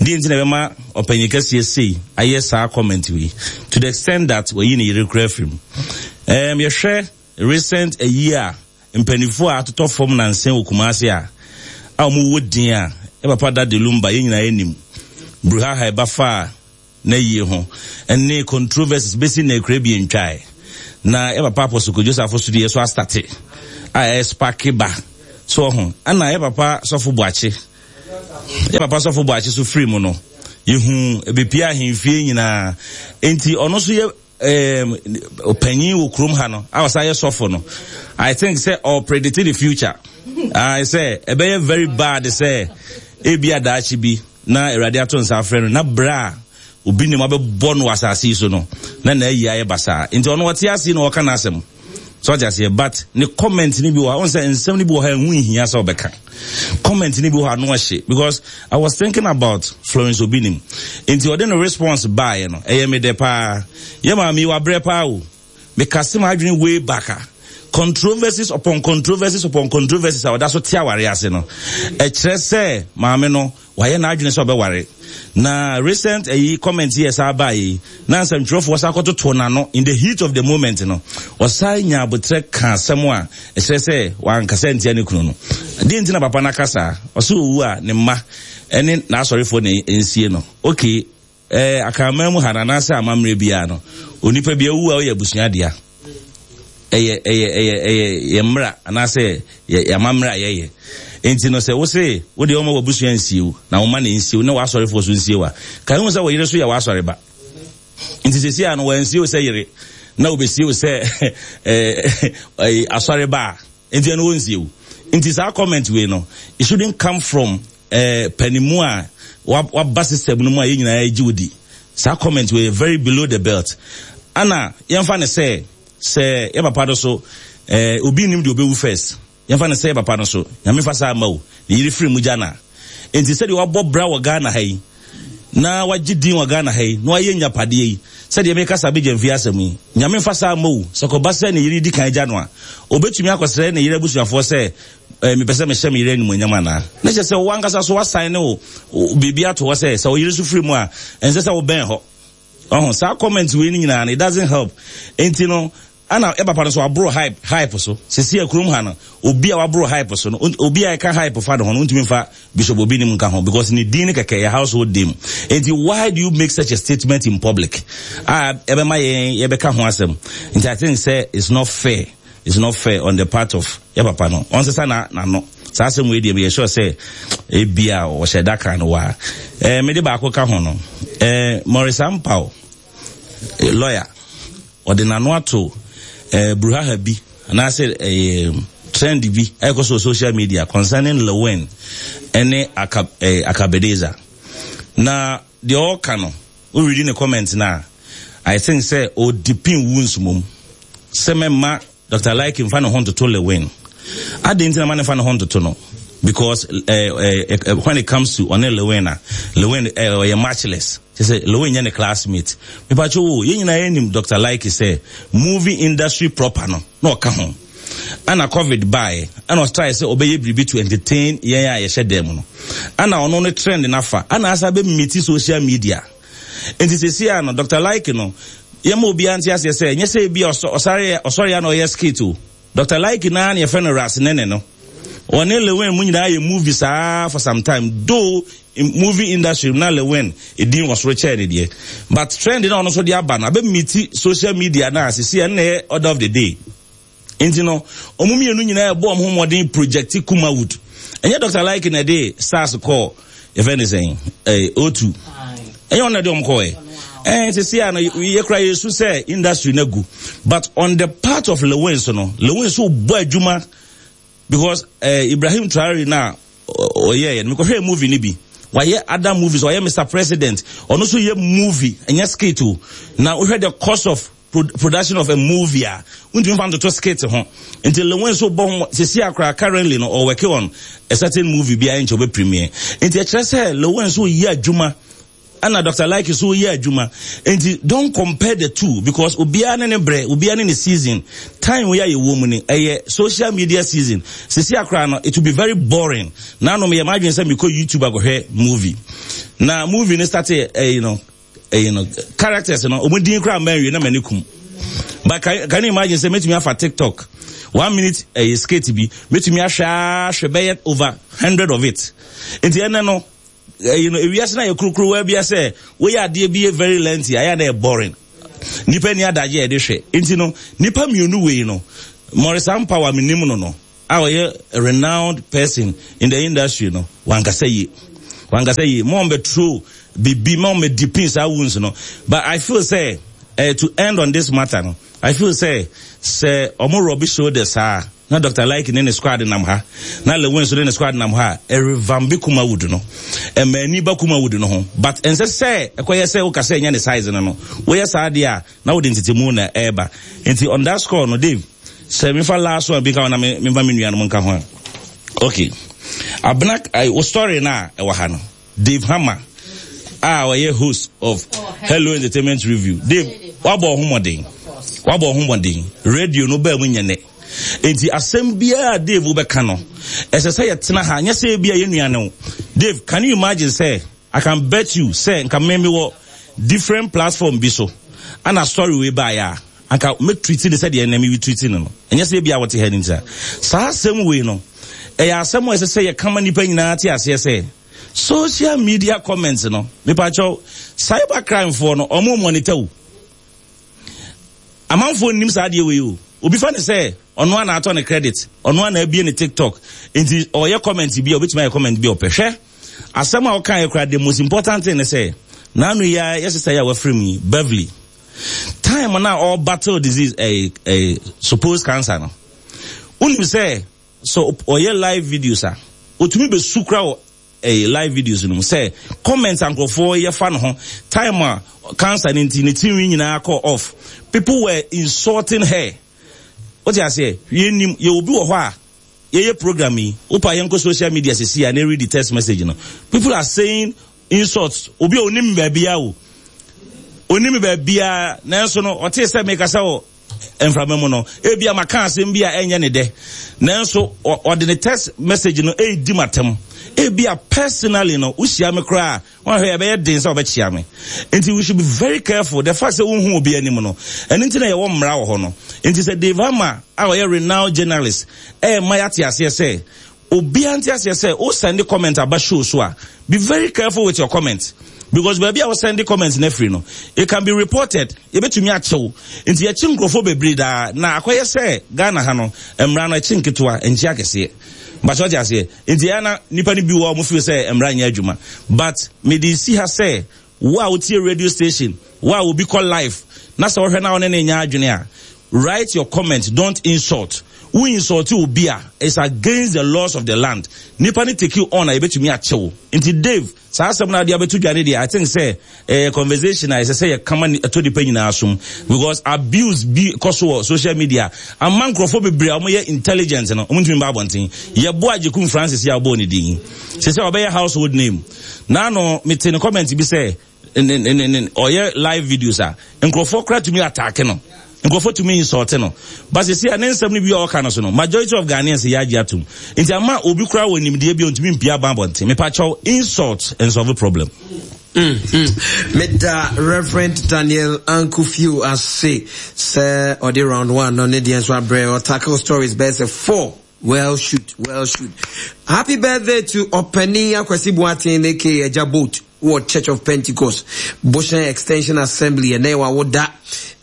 Deɛ nti na ɛbɛma ɔpanyin kɛseɛ sei ayɛ saa comment wei to the extent that wayi ne yere kura afiri mu? Um, yɛhwɛ recent ayi a mpanimfoɔ a atotɔ fam nansa wɔ Kumase a a wɔwɔ din a, yɛ papa Daddy Lumba, yɛn nyinaa anim bruhaha ɛba fa na yie ho ɛne controversies bɛsi na ekura bi ntwae na yɛ papa Apostle Kojo Safo so deɛ so astate a ɛyɛ spark ba so ho. Ɛna yɛ papa Sɔfo Boakye, yɛ papa Sɔfo Boakye so firi mu no, yɛhu ebepia ahemfie nyinaa, nti ɔno nso yɛ ɔpanyin wɔ kurom ha no a ɔsan yɛ sɔfo no. I think sɛ ɔpredict the future I sɛ ɛbɛyɛ very bad sɛ ebi adaakye bi na Awurade ato nsa afrɛ no na bra a Obinim abɛbɔ no wɔ asase yi so no na na ayi ayɛ basaa. Nti ɔno ɔte ase na ɔka n'asɛm so, ɔte aseɛ, but ne comment ni bi wɔ ha, ɔn sɛ nsɛm ni bi wɔ ha ɛho nhia sɛ ɔbɛka. Comment ni bi wɔ ha no ɔhye, because I was thinking about Florence Obinim, nti ɔde no response baeɛ no, ɛyɛ me dɛ paa. Yɛ maame yi wabrɛ paa o. Mekase ma adwene way back a, controversies upon controversies upon controversies a ɔda so te aware ase no, ɛkyerɛ sɛ maame no wayɛ n'adwene sɛ ɔbɛware. Na recent ayi comment yɛ saa baa yi na nsɛmtwerɛfoɔ sa akɔtoto n'ano in the heat of the moment no, ɔsan nya abotrɛ ka asɛm a ɛkyerɛ sɛ wankasa ntia ne kunu no. Deɛ nti na papa no aka saa, ɔsɛ owu a, ne mma ɛne n'asɔrefoɔ na nsie no. Okay, ɛɛ akraman mu ha no anaasɛ amammerɛ biara no, onipa bi awu a, ɔyɛ abusua dea. ɛyɛ ɛyɛ ɛyɛ ɛyɛ yɛ mmra anaasɛ yɛ yɛ amammerɛ a yɛyɛ. Nti no sɛ wose wode ɔma w'abusua nsie wo na woma ne nsie wo na w'asɔrefoɔ so nsie wo a, ka ehu sɛ wo yere so yɛ w'asɔre ba. Nti sɛsi a no, wɔansie wo sɛ yere na wobɛsie wo sɛ ɛɛ ɛɛ asɔre ba a, nti ɛno wɔnsie wo. Nti saa comment wei no, it shouldn't come from ɛɛ panimu a waba system no mu a yɛn nyinaa gye wo di. Saa comment wei very below the belt. Ana yɛmfa ne sɛ sɛ yɛ papa no so, ɛɛ obi nim deɛ obewu first. Yɛmfa ne sɛ yɛ papa no so, Nyame fa saa ama o, ne yere firi mu gya na nti sɛdeɛ wabɔ bra wɔ Ghana ha yi na wagye din wɔ Ghana ha yi na wayɛ nyapadeɛ yi, sɛdeɛ meka sa abɛgya mfie asɛm yi, Nyame fa saa ama o, sɛ kɔba sɛ ne yere di kan gya no a, obɛtumi akɔsrɛ ne yere abusuafoɔ sɛ eh, mepɛ sɛ mehyɛ me yere animuonyam anaa? Na kyerɛ sɛ wo ankasa so wasan ne wo biribi ato hɔ sɛ sɛ wo yere so firi mu a, ɛnsɛ sɛ wobɛn hɔ. Ɔho saa comment wei no nyinaa no, it doesn't help. Nti no ana ɛ papa no so waboro hype hype so. Sisi akurom ha no, obi a waboro hype so no, obi a ɛka hype fa ne ho no, ntumi nfa Bishop Obinim nka ho, because ne din no kɛkɛ yɛ household name. Nti why do you make such a statement in public a ɛbɛma yɛn yɛbɛka ho asɛm? Nti I think sɛ it's not fair, it's not fair on the part of yɛ papa no. Ɔnsesa na n'ano saa asɛm wei deɛ, meyɛ sure sɛ ebia ɔhyɛ da kan no waa. ɛɛ mede baako ka ho no, ɛɛ Maurice Ampaw, lawyer, ɔde n'ano ato ɛɛ bruhaha bi anaasɛ ɛɛ trend bi ɛkɔ so social media concerning Lilwin ɛne aka ɛɛ Akabedeza. Na deɛ ɔreka no, woredi ne comment na I think sɛ ɔdeepen wounds mom sɛ mɛma Doctor Likee nfa ne ho ntoto Lilwin. Adi nti na ma ne fa ne ho ntoto no, because uh, uh, uh, when it comes to ɔne Lilwin a, Lilwin ɔyɛ uh, matchless, kyɛ sɛ Lilwin nyɛ ne classmate. Mipatwo wo, yɛn nyinaa yɛnim Doctor Likee sɛ movie industry proper no na ɔka ho. Ana COVID baeɛ, ɛna ɔtry sɛ ɔbɛyɛ biribi to entertain yɛn a yɛhyɛ dan mu no, ana ɔno ne trend nafa ana asa bɛ meet social media. Nti sɛsi a no, Doctor Likee no, yɛma obiara nte aseɛ sɛ nyɛ sɛ ebi ɔsɔre ɔsɔre a na ɔyɛ skit o. Doctor Likee naa na yɛfrɛ no Ras Nene no, ɔne Lilwin mu nyinaa yɛ movie saa for some time, though in movie industry na Lilwin edin wɔ soro kyɛɛ ne deɛ, but trend na ɔno nso de aba no abɛ meet social media na sisi ɛno na ɛyɛ order of the day. Nti no ɔmo mmienu nyinaa ɛbɔ ɔmo ho mmɔden project Kumawood. Ɛnyɛ Doctor Likee na ɛde SARS kɔɔ, yɛfɛ ne sɛn, ɛɛ O two, ɛnyɛ ɔno na ɛde ɔmo kɔɔ ɛ ɛɛ sisi a no, yɛkura yɛsu sɛ industry na gu. But on the part of Lilwin so no, Lilwin so bɔ adwuma because ɛɛ Ibrahim Traore na ɔyɛ yɛ no, mekɔhwɛ movie ni bi, wayɛ other movies, ɔyɛ Mister President, ɔno nso yɛ movie, ɛnyɛ skit o. Na wohwɛ the cost of pro production of a movie a, wontumi fa ntoto skit ho. Nti Lilwin nso bɔ ho sisi akora. Currently no, ɔwork on a certain movie bi a ɛnkyɛ ɔbɛ premiere. Nti ɛkyerɛ sɛ Lilwin nso yɛ adwuma. Ɛna Doctor Likee so yɛ adwuma. Nti don't compare the two, because obiara ne ne brɛ, obiara ne ne season. Time wei a yɛwɔ mu ni, ɛyɛ social media season. Sisi akora no, it will be very boring. Nanom yɛ m'adwene sɛ mekɔ YouTube akɔhwɛ movie. Na movie no start ɛyi no, ɛyi no, characters no, ɔmo din koraa mma nwie na m'ani kum. But can, can you imagine sɛ metumi afa TikTok one minute ɛyɛ skit bi, metumi ahwɛ ahwɛ bɛyɛ over hundred of it. Nti ɛnɛ no, you know, ewiase na yɛ kurukuruwa bi sɛ woyɛ adeɛ bi yɛ very lengthy, ayɛ na yɛ boring. Nipa ni adagye a yɛde hwɛ. Nti no, nipa mmienu wei no, Maurice Ampaw menim no no, a ɔyɛ a renowned person in the industry no, wankasa yie. Wankasa yie. Mo ɔmbɛturo bibi, mo ɔmbɛ deepen saa wounds no. But I feel sɛ, uh, to end on this matter no, I feel sɛ, sɛ ɔmo rub shoulders saa, na Doctor Likee ne ne squad nam ha, na Lilwin so ne ne squad nam ha, ɛrevamp Kumawood no, ɛma ani ba Kumawood no ho. But ɛnsɛ sɛ ɛkɔyɛ sɛ woka sɛ ɛnyɛ ne size no no, woyɛ saa deɛ a, na wode ntetemu na ɛreba. Nti on that score no, Dave, sɛ mefa last one bi ka ho na memfa me nuanom nka ho a. Okay. Abena, wo story na ɛwɔ ha no, Dave Hammer, a ɔyɛ host of Hello Entertainment Review. Dave, wabɔ ho mmɔden. Wabɔ ho mmɔden. Radio no baa mu nyɛ nɛ. Nti asɛm biara Dave wobɛka no, ɛsɛ sɛ yɛtena ha, nyɛ sɛ ebia yɛn nua ne wo. Dave, can you imagine sɛ, I can bet you sɛ nka me wɔ different platform bi so, ana story wei baeɛ a, anka me treat ne sɛdeɛ ɛnɛ me treat no no. Ɛnyɛ sɛ ebia wɔte ha no nti a. Saa asɛm wei no, ɛyɛ asɛm a ɛsɛ sɛ yɛka ma nnipa nyinaa te aseɛ sɛ, social media comments no, mepakyɛw, cyber crime foɔ no, ɔmo monitor wo. Amanfoɔ nnim saa adeɛ wei o. Obi fa ne sɛ, ɔno ana atɔ ne credit, ɔno ana abie ne TikTok, nti ɔyɛ comment bi a, obetumi ayɛ comment bi a ɔpɛ. Hwɛ, asɛm a ɔka yɛ koraa, the most important thing ne sɛ, n'ano yi a yɛsesa yi a wafiri mu yi, Beverly, time na ɔbattle disease, ɛɛ ɛɛ supposed cancer no, wonim sɛ, so ɔyɛ live videos a, otumi bɛsu kora wɔ ɛyɛ live videos no mu sɛ comments ankorɔfoɔ yɛfa no ho, time a cancer ne nti ne tirinwi nyinaa kɔ off, people were insulting her. Wote aseɛ? Yɛnim yɛ obi wɔ hɔ a yɛyɛ program yi, wopa yɛnkɔ social media sisi a na read the text message no, people are saying insults. Obi a onim baabia o, onim baabia, nanso no ɔte sɛ mekasa wɔ mframa mu no, ebia maka asɛm bi a ɛnyɛ ne dɛ, nanso ɔde ne text message no ɛredi matam. Ebia personally no, wohyia me koraa, wɔn ahwɛ yɛbɛyɛ den sɛ ɔbɛkyia me. Nti we should be very careful. The fact sɛ wohu obi anim no, ɛno nti na yɛwɔ mmara wɔ hɔ no. Nti sɛ Dave Hammer a ɔyɛ renowned journalist ɛyɛ mma yɛate aseɛ sɛ obiara nte aseɛ sɛ o send comment aba show so a, be very careful with your comment, because baabi a wo send comment na afiri no, it can be reported, yɛbɛtumi akyɛw. Nti yɛkyi nkurɔfoɔ bebree daa na akɔyɛ sɛ Ghana ha no, mmara no akyi nketewa nkyi akɛseɛ bakyɛ, ɔte aseɛ? Nti ɛyɛ na nipa no bi wɔ ɔmo feel sɛ mmara nyɛ adwuma, but mede si ha sɛ wo a wotie radio station, wo a obi kɔ live na sɛ wɔhwɛ na wɔne ne nya adwene a, write your comment, don't insult. Wo insult obi a, it's against the laws of the land. Nipa ne take you on a, yɛbɛtumi akyɛw. Nti Dave, saa asɛm no ade abɛto dwa ne deɛ, I think sɛ ɛyɛ conversation a ɛsɛ sɛ yɛkama ɛtɔ nipa nyinaa som, because abuse bi kɔ so wɔ social media ama nkurɔfoɔ bebree a wɔyɛ intelligent no, wɔn ntumi ba abɔnten. Yɛboa Agyekum Francis yi a ɔbɔɔ ne din sɛ sɛ ɔbɛyɛ household name naano, mete ne comment bi sɛ ne ne ne ɔyɛ live videos a, nkurɔfoɔ kora tumi attack no, nkurɔfoɔ tumi insult no, but sisi a ne nsɛm no bi a ɔka no so no, majority of Ghanaians yɛ agye atum. Nti ama obi kora wɔ nimdeɛ bi a ntumi mpia ban abɔnten. Mepakyɛw, insult nsolve problem. Mm, mm. Meda Reverend Daniel Ankufio ase sɛ ɔde round one no ne deɛ nso abrɛ, ɔtackle stories bɛyɛ sɛ four. Well shoot, well shoot. Happy birthday to Ɔpani Akwasi Boateng, aka Agya Boat, wɔ Church of Pentecost, Boshan Extension Assembly, ɛnɛ wawoda.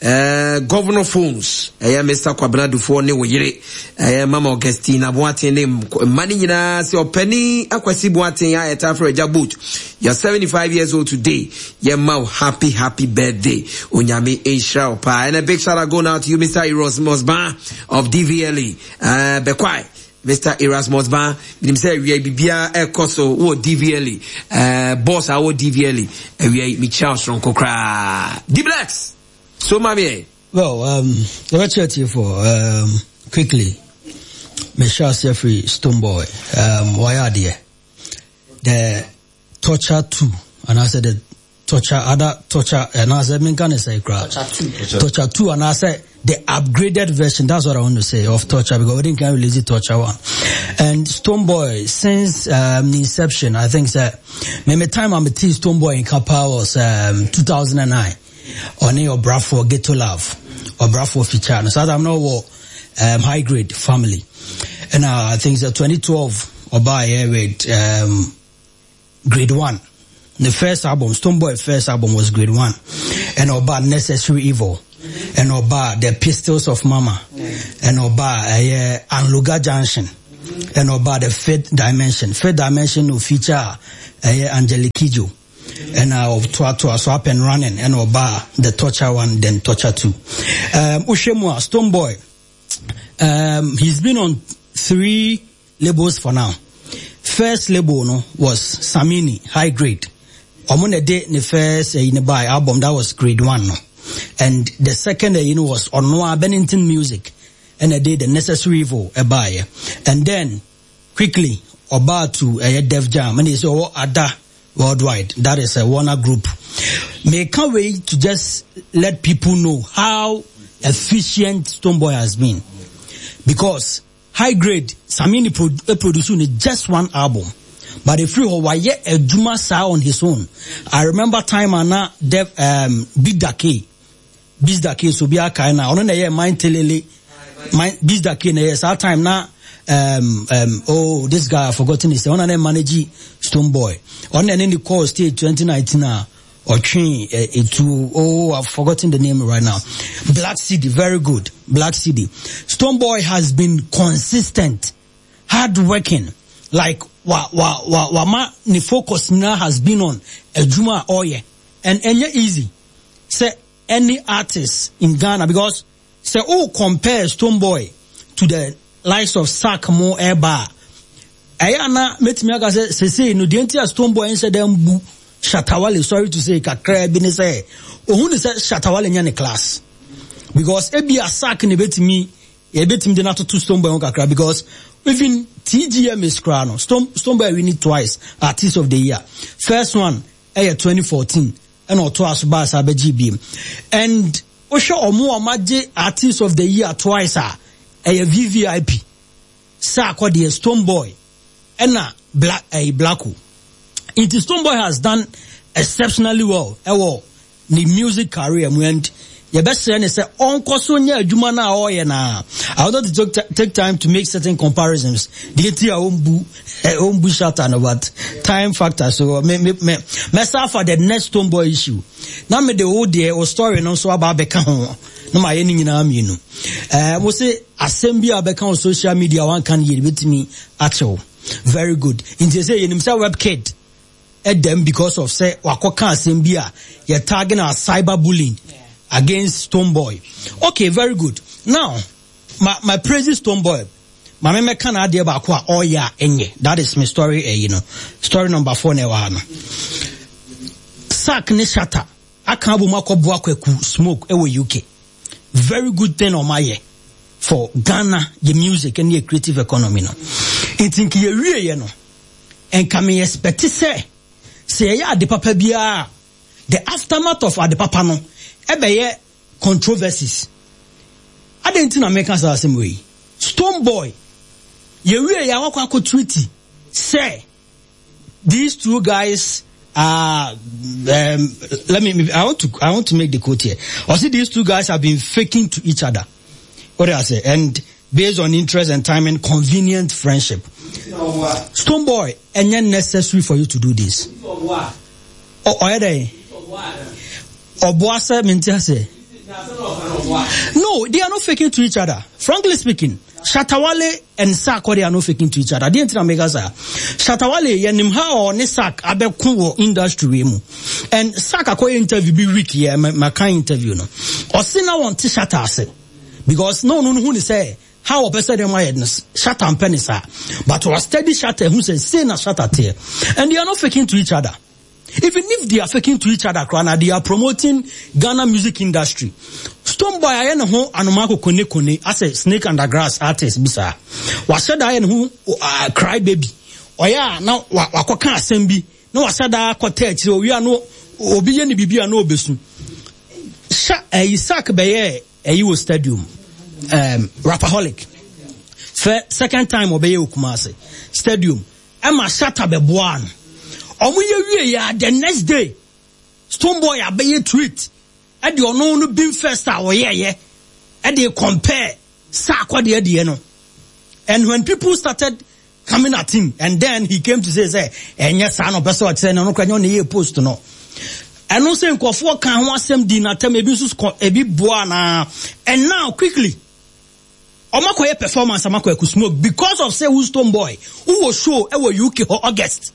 Uh, Governor Phones, ɛyɛ Mister Kwabena Dufoɔ ne wo yere, ɛyɛ Mama Augustine Aboateng ne mma ne nyinaa sɛ Ɔpani Akwasi Boateng a yɛta frɛ Agya Boat, you're seventy-five years old today. Yɛma wo happy, happy birthday. Onyame nhyira wo paa. And a big shout out going out to you, Mister Erasmus Ban of D V L E. Uh, Bekwai. Mister Erasmus Ban, minim sɛ awia biribiara ɛkɔ so wɔ D V L E. Uh, boss a wɔ D V L E. Awia yi, mekyia wo soronko koraa. D-Blacks! So, mami. Well, um, yɛbɛkyerɛ tiefoɔ um, quickly. Mehyɛ aseɛ firi Stonebwoy. Um, wayɛ adeɛ. The Torture two, anaasɛ the Torture, other Torture, and I said, say Torture two. Torture two, and I said the upgraded version, that's what I want to say, of Torture, because we didn't can release it Torture one. And Stonebwoy, since um, the inception, I think that maybe time I'm a T Stonebwoy in Kappa was um, two thousand nine. On your Brafo Ghetto Love, or Brafo feature. So I'm not what um, High Grade Family. And uh, I think that twenty twelve, or by here with um, Grade one. The first album, Stonebwoy first album was Grade one. And Oba Necessary Evil. And Oba The Pistols of Mama. And Oba uh, Anloga Junction. And Oba The Fifth Dimension. Fifth Dimension will feature uh, Angelique Kidjo. And uh, of Toa Toa, so Up and Running. And Oba The Torture one, then Torture two. Um, Ushemua, Stonebwoy. Um, he's been on three labels for now. First label no was Samini, High Grade. Omone de the first uh, in buy album that was Grade one, no. And the second uh, you know was Onoa Bennington Music, and they did the Necessary Evil a buy. And then quickly Oba to a uh, Def Jam, and they say oh Ada Worldwide, that is a Warner Group. May can't wait to just let people know how efficient Stonebwoy has been, because High Grade Samini pro- produced just one album. But if you were a Juma sa on his own, I remember time ana Dev um Big Dake, Big Dake so be a kind on a mind telele, mind Big Dake na yes that time na um um oh this guy I've forgotten his on a manage Stonebwoy on any call stage twenty nineteen or train to oh I've forgotten the name right now. Black City, very good. Black City. Stonebwoy has been consistent, hard working. Like wa wa wa wa ma ni focus now has been on Ejuma Oye. And any easy. Say any artist in Ghana, because say oh compare Stonebwoy to the likes of Sark Mo Eba. Ayana metimi aka say say say no the entire Stonebwoy inside them bu Shatta Wale, sorry to say kakra bi ne say ohun ne say Shatta Wale nya ne class. Because ebi a Sark ne betimi e betimi de na to Stonebwoy kakra, because even T G M is crown. Stone Stonebwoy win it twice. Artist of the Year. First one, eh, twenty fourteen. And or twice by G B. And Osho Omo Amaje Artist of the Year twice, ah, eh, V V I P. Sark the Stonebwoy. And Black eh Blacko. It is Stonebwoy has done exceptionally well. Eh, well, the music career and your best friend is Uncle Sonia Jumana Oyena. I want to take, take time to make certain comparisons. The T own own bush but time factor. So me me me myself for the next Stonebwoy issue. Now me the old day or story no so about beka ho. No my any na me no. Eh we say assembly abeka on social media one can ye with me actual. Very good. In say you say webkid at them because of say wakoka assembly you're tagging our cyberbullying. Yeah. Against Stonebwoy. Okay, very good. Now, my my praise Stonebwoy. My meme can add about oh yeah, enye. That is my story, eh, you know. Story number four ne wa no. Sark ne Shatta. Aka bu makɔ kweku smoke ewo U K. Very good thing on my year for Ghana, the music and the creative economy no. Nti ye wie ye no. Enka me expect say say ya de papa bia the aftermath of ade papa no ebeye controversies. I didn't think Americans are the same way. Stonebwoy, ye wie ya wakɔ akɔ treaty say these two guys are um, let me I want to I want to make the quote here. I see these two guys have been faking to each other. What do I say? And based on interest and timing, convenient friendship. Stonebwoy, and necessary for you to do this. Oh, oh, yeah, Obuasa Mentiase. No, they are not faking to each other. Frankly speaking, Shatta Wale and Sark, they are not faking to each other. They didn't make us. Shatta Wale, yenim ha or ne Sark abeku industry mu. And Sark akɔ interview bi week here, my kind interview no. Ɔsi na want Shatta ase. Because no no who say how a person dem why Shatta and penisa. But was steady Shatta who say say na Shatta tear. And they are not faking to each other. Even if they are faking to each other, they are promoting Ghana music industry. Stonebwoy aye ne ho anomako kone kone as a snake under grass artist bisa. Waseda aye ne ho cry baby. Oya na wakɔka asɛm bi na waseda akɔta akyire owi ano Obi yɛ ne biribi a na obesu. Sha ɛyi Sark bɛyɛ ɛyi wɔ stadium. Um, Rapperholic. Fɛ second time ɔbɛyɛ wɔ Kumasi stadium. Ɛma Shatta bɛboa no. Ɔmo yɛ wie ya the next day Stonebwoy abɛyɛ tweet ɛde ɔno no Bhim First a ɔyɛɛyɛ ɛde compare Sarkodie deɛ no. And when people started coming at him, and then he came to say sɛ ɛnyɛ saa na ɔpɛ sɛ ɔkyerɛ no, ɔno koraa nyɛ ɔna ɛyɛ post no. Ɛno sɛ nkurɔfoɔ ka ho asɛm di n'atɛm, ebi nso kɔ, ebi boa na. And now quickly, ɔmo akɔyɛ performance ama Kwaku Smoke because of say wo Stonebwoy wowɔ show ɛwɔ U K hɔ August.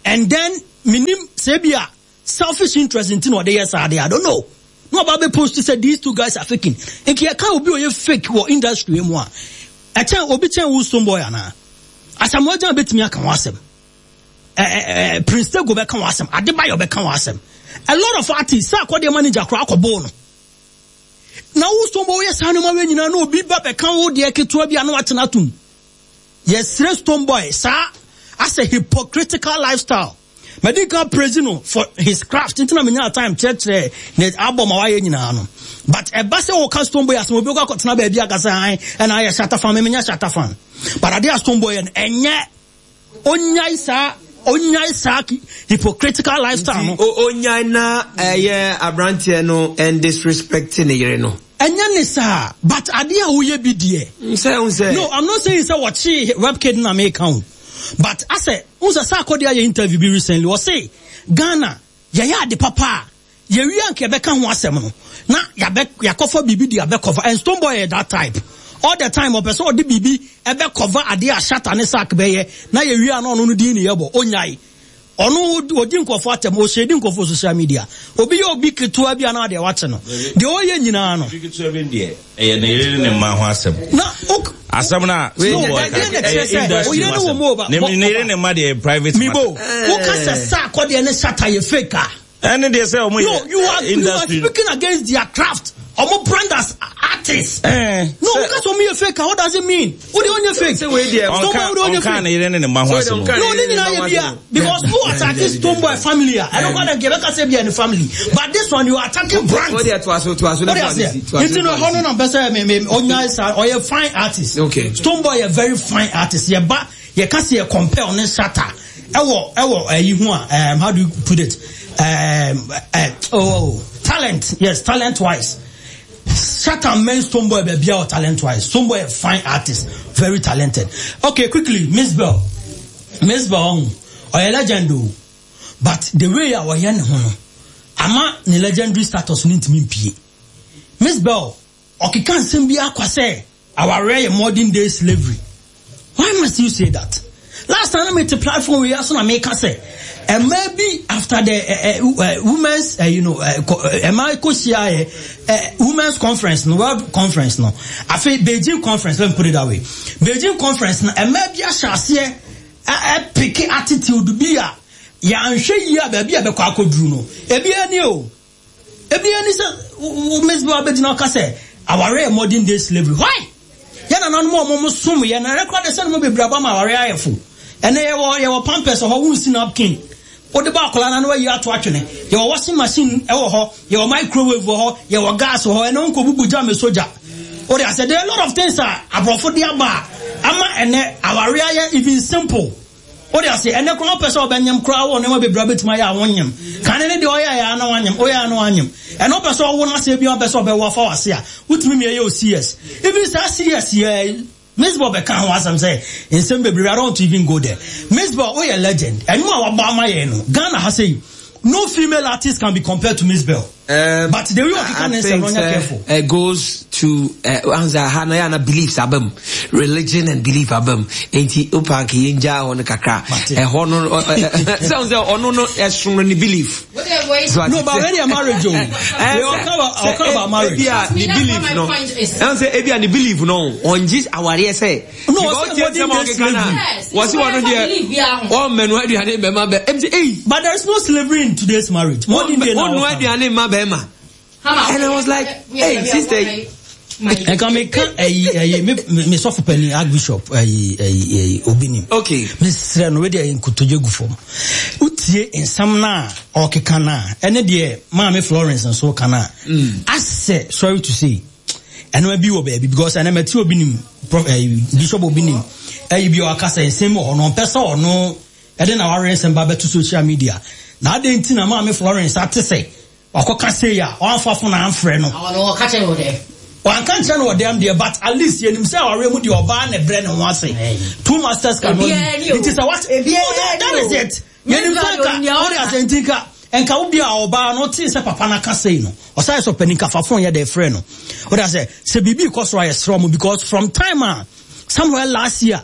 And then minim sɛ ebi a selfish interest nti na ɔde yɛ saa de, I don't know. No ɔba bɛ post sɛ these two guys are faking. Nti yɛka obi a ɔyɛ fake wɔ industry mu a, ɛkyɛn obi kyɛn wo Stonebwoy anaa? Asamoah Gyan betumi aka ho asɛm. Ɛ, ɛ, ɛ, Prince Tego bɛka ho asɛm. Adebayo bɛka ho asɛm. A lot of artists, Sarkodie manager koraa akɔbɔɔ no. Na wo Stonebwoy woyɛ saa nneɛma wei nyinaa na obi ba bɛka wo deɛ ketewa bi a na watena atom. Yɛsrɛ Stonebwoy saa as a hypocritical lifestyle. Madi nka praise no for his craft. Nti na menya time kyerɛkyerɛ ne album a wayɛ nyinaa no. But ɛba sɛ wɔka Stonebwoy asɛm, obi kɔ akɔtena baabi aka sɛ an ɛna ayɛ Shatta fan, me menya Shatta fan. But ade a Stonebwoy yɛ no ɛnyɛ onyae saa, onyae saa hypocritical lifestyle no. Nti, o-, onyae na ɛyɛ aberanteɛ no and disrespect ne yere no. Ɛnyɛ ne saa, but ade a woyɛ bi deɛ. Nsɛ, nsɛ. No, I'm not saying sɛ wɔkye webkid na meka o. But asɛ, unsa Sarkodie ayɛ interview bi recently, ɔse Ghana yɛyɛ ade papa a, yɛwie anka yɛbɛka ho asɛm no, na yɛabɛ, yɛakɔfa biribi de abɛkɔfa. And Stonebwoy yɛ that type. All the time, ɔpɛ sɛ ɔde biribi ɛbɛkɔfa adeɛ a Shatta ne Sark bɛyɛ, na yɛwie a na ɔno no din ne yɛbɔ, onyae. Ɔno odi nkɔfo atɛm, ɔhyɛ di nkɔfo social media. Obi yɛ obi ketewa bi a na adeɛ wakye no. Deɛ ɔyɛ nyinaa no. Obi ketewa bi deɛ, ɛyɛ ne yere ne mma ho asɛm. Na ok. Asɛm na No, Stonebwoy ɛdeɛ ka, na ɛkyerɛ ɛyɛ sɛ industry oyere ne ho wɔ mu asɛm. ɔba. Ne Bɔ- ne yere ne mma deɛ private Mibo, matter. woka sɛ Sarkodie ne Shatta yɛ fake a. Ɛne deɛ sɛ ɔmo No, yɛ you are, you are industry. speaking against their craft. Ɔmo brand as artists. Eh, No, sɛ woka sɛ ɔmo yɛ fake a, what does it mean? Wo deɛ ɔnyɛ fake. Sɛ wei deɛ, Stonebwoy, ɔnka wo deɛ ɔnyɛ ɔnka fake. ne yere ne ne mma ho Sɛ asɛm. ɔnka No, ne nyinaa yɛ bia. Because who attack Stonebwoy family a, ɛno kɔ na nka yɛbɛka sɛ bia ne family. But this one, you are attacking brand. Wo deɛ toa so, toa so, na What toa do so, you say? toa so, Nti no, toa so. hɔ no na mpɛ sɛ me, me, ɔnya saa, ɔyɛ fine artist. Okay. Stonebwoy yɛ very fine artist. Yɛba, yɛka sɛ yɛ compare ne Shatta. Ɛwɔ, ɛwɔ, ɛyi ho a, um, how do you put it? Um, uh, oh, talent. Yes, talent wise. Shatta men Stonebwoy baabi a talent wise. Stonebwoy a fine artist, very talented. Okay, quickly, Mzbel. Mzbel, ɔyɛ legend o. But the way a ɔyɛ ne ho no, ama ne legendary status no ntumi mpie. Mzbel, ɔkeka nsɛm bi akwa sɛ awareɛ yɛ modern day slavery. Why must you say that? Last time I met the platform we asked na make say, and maybe after the, uh, uh, uh, women's, uh, you know, uh, co-, uh, uh, uh, women's conference, no, world conference, no. I feel Beijing conference, let me put it that way. Beijing conference, no, and maybe I shall see a, a picky attitude be a, ya nhwe yi a baabi a bɛkɔ akɔduru no. Ebi ani o. Ebi ani sɛ, Miss Bell abɛgyina ɔka sɛ, aware yɛ modern day slavery. Why? Yɛn nananom a wɔn som yɛn, na ɛrekora de sɛ no bebree aba ma aware ayɛ fo. Ɛnɛ yɛwɔ, yɛwɔ pampers wɔ hɔ, wonsi napkin. Wode ba akwadaa na wayi ato atwene. Yɛwɔ washing machine ɛwɔ hɔ, yɛwɔ microwave wɔ hɔ, yɛwɔ gas wɔ hɔ, ɛnɛ wonkɔ bubu gya me soja. Wode asɛ, there are a lot of things a aborɔfo de aba a, ama ɛnɛ aware ayɛ even simple. Wode ase, ɛnɛ koraa wopɛ sɛ wobɛnyem koraa wɔ nneɛma bebree a wobɛtumi ayɛ a wonyem. Kane ne deɛ ɔyɛ a na wanyem, ɔyɛ a na wanyem. Ɛnɛ wopɛ sɛ ɔwo n'ase bi a wopɛ sɛ ɔbɛwo afa w'ase a, wotumi mia yɛ o C S. Even saa C S yɛ, Mzbel bɛka ho asɛm sɛ nsɛm bebree, I don't want to even go there. Mzbel, woyɛ legend. Ɛno a wabɔ ama yɛn no, Ghana ha sɛ yi, no female artist can be compared to Mzbel. Um, But the way you can I say, think, no, uh, careful. It goes to, uh, anza ha na ya na beliefs abam, religion and belief abam. Enti opa ke yenja ho no kakra. Mate. Eh, ho no, eh, eh, eh, so so ono no esum no ni belief. So No, but already a marriage, oh. Eh, They all come about, all come about marriage. Ebia ni That's belief my no. point is. Anza ebia ni belief no. On just aware say. No, Because what's the ɔtie nsɛm a modern day ɔkeka na, slavery? Yes. wɔsi wɔn no deɛ, Belief, yeah. wɔn mɛnu aduane bɛma bɛ. Ɛm sɛ, ei. But there is no slavery in today's marriage. Modern day now. Wɔn nu aduane mma bɛma. Hama, And I was like, we are, hey, we are sister. one, Nka meka ɛyi ɛyi me me sɔfo panyin Archbishop ɛyi ɛyi ɛyi Obinim. Okay. Mesrɛ no wei deɛ nkotodwe gu fam. Wotie nsɛm no a ɔkeka no a ɛne deɛ Maame Florence nso ka no a asɛ sorry to say ɛnoma bi wɔ baabi because ɛnɛ mɛte Obinim prof ɛyi Bishop Obinim ɛyi bi a ɔka sɛ nsɛm wɔ hɔ no ɔmpɛ sɛ ɔno ɛde na wareɛ nsɛm ba bɛto social media na adɛn nti na Maame Florence ate sɛ wakɔka sei a ɔamfa fo na amfrɛ no. Ɔno ɔka kyerɛ wo dɛ. Wanka nkyerɛ no wɔ dɛm deɛ, but at least yɛnim sɛ awareɛ mu deɛ ɔbaa na ɛbrɛ ne ho ase. Two masters cannot be. Ebiara ni o. Nti sɛ what? Ebiara Oh, that, that ni o. is it. Yɛnim sɛ nka, wode asɛ nti nka, nka wo bi a ɔbaa no tee sɛ papa no aka sei no, ɔsan sɛ ɔpanin kafa phone yɛ dɛ frɛ no. Wode asɛ, sɛ biribi kɔ so a yɛsrɛ mo because from time a, somewhere last year,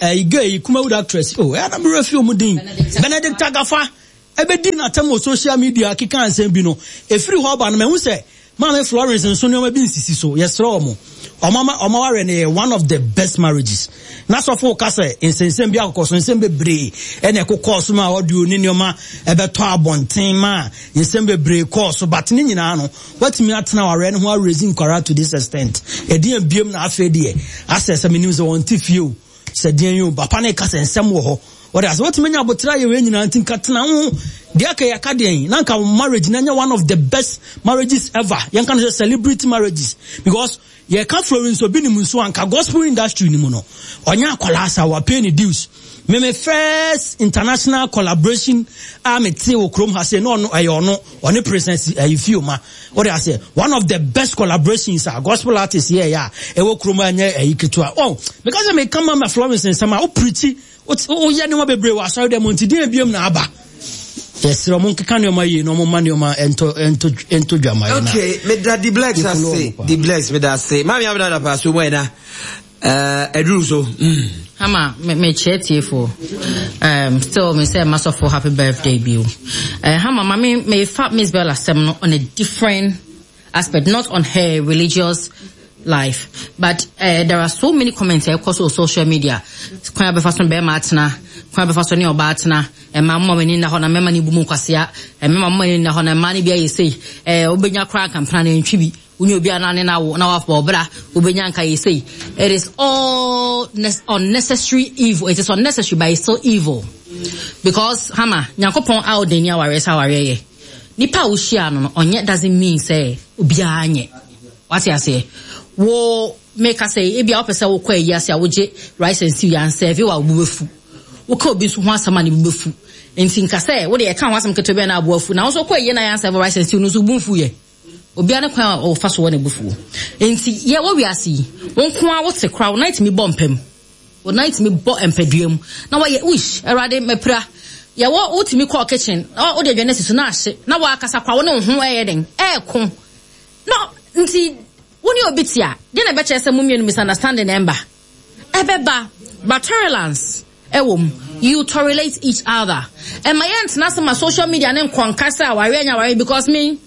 eh, girl yi, Kumawood actress, oh, ɛyɛ na merɛ fi ɔmo din. Benedict Agafa, ɛbɛdi n'atam wɔ social media keka nsɛm bi no, ɛfiri hɔ aba no, mahu sɛ Maame Florence nso nneɛma bi nsisi so, yɛsrɛ ɔmo. Ɔmo ama ɔmo awareɛ no yɛ one of the best marriages. Na sɔfo ka sɛ nsɛnsɛm bi akokɔ so, nsɛm bebree ɛna ɛkokɔɔ so ma audio ne nneɛma ɛbɛtɔ abɔnten ma nsɛm bebree kɔɔ so, but ne nyinaa no, watumi atena awareɛ no ho arezi nkwara to this extent. Ɛdeɛn biem na afei deɛ, asɛ sɛ menim sɛ wɔn te fie o, sɛ deɛn yi o, papa ne ka sɛ nsɛm wɔ hɔ. Wɔde asɛ watumi anya abotire ayɛ wei nyinaa nti nka tena ho. Deɛ aka yɛ aka deɛn, na nka marriage na nyɛ one of the best marriages ever. Yɛnka no sɛ celebrity marriages because yɛka Florence Obinim nso anka gospel industry ni mu no, ɔnyɛ akwadaa sa wa pay ne dues. Me me first international collaboration a me te wɔ kurom ha sɛ na ɔno ɛyɛ ɔno ɔne Princess ɛyɛ Fioma. Wɔde asɛ one of the best collaborations a gospel artists yɛ yɛ a ɛwɔ kurom ha nyɛ ɛyi ketewa. Oh, because me kama ma Florence nsɛm a o preach woyɛ nneɛma bebree wɔ asɔre dɛm nti deɛ ebiem na aba. Yɛsrɛ ɔmo nkeka nneɛma yie na ɔmo ma nneɛma ɛntɔ ɛntɔ ɛntɔ dwama yɛ na. Okay, me da di blacks Yɛkolo ase, ɔmo paa. di blacks me da ase. Maame abena da pa so mo na. Eh, eduru so. Mm. Hama, me me kyerɛ tiefo. Um, still me say masɔfo happy birthday bi o. Uh, Hama, ma me me fa Miss Bella asɛm no on a different aspect, not on her religious life, but uh, there are so many comments ɛkɔ so wɔ social media. Kwan abɛfa so bɛrima atena, kwan abɛfa so ne ɔbaa atena, ɛma mma w'ani nna hɔ na mmarima ne bu mu nkwasea, mmarima mma w'ani nna hɔ na mmaa ne bi ayɛ sei, ɛɛ wobɛnya koraa nkampena na ntwi bi. Wonye obi a na ne na wo na wafɔ ɔbra wobɛnya nka yɛ sei. It is all unnecessary evil. It is unnecessary, but it's still evil. Because Hama, Nyankopɔn a ɔde ni awareɛ sɛ awareɛ yɛ. Nipa a wohyia no no, ɔnyɛ doesn't mean sɛ obiara nyɛ. Wate aseɛ? Wo meka sɛ ebi a wopɛ sɛ wokɔ ayi ase a wogye rice and stew yɛ ansɛve wa wo bɛfu. Woka obi nso ho asɛm a ne bo bɛfu. Nti nka sɛ wode ɛka ho asɛm ketewa bi a na aboa afu. Na wo nso wokɔ ayi na yɛ ansɛve rice and stew no nso wo bo mfu yɛ. Obiara ne kwan a ɔfa so wɔ ne bufuo. Nti yɛ wɔ wiase yi, wo nko ara wote koraa, wo nan tumi bɔ mpam. Wo nan tumi bɔ mpadua mu. Na wɔyɛ, uish, Awurade, mapira. Yɛwɔ, wotumi kɔɔ kitchen, na wode aduane asi so na ahye, na woakasa koraa, wo ne wo ho ɛyɛ den, ɛɛko. No, nti, wo ne obi te a, deɛ na ɛbɛkyerɛ sɛ mo mmienu misunderstanding na ɛmba. Ɛbɛba, but tolerance ɛwɔ mu. You tolerate each other. Ɛma yɛntena ase ma social media ne nkɔnka sɛ awareɛ nyɛ awareɛ because me,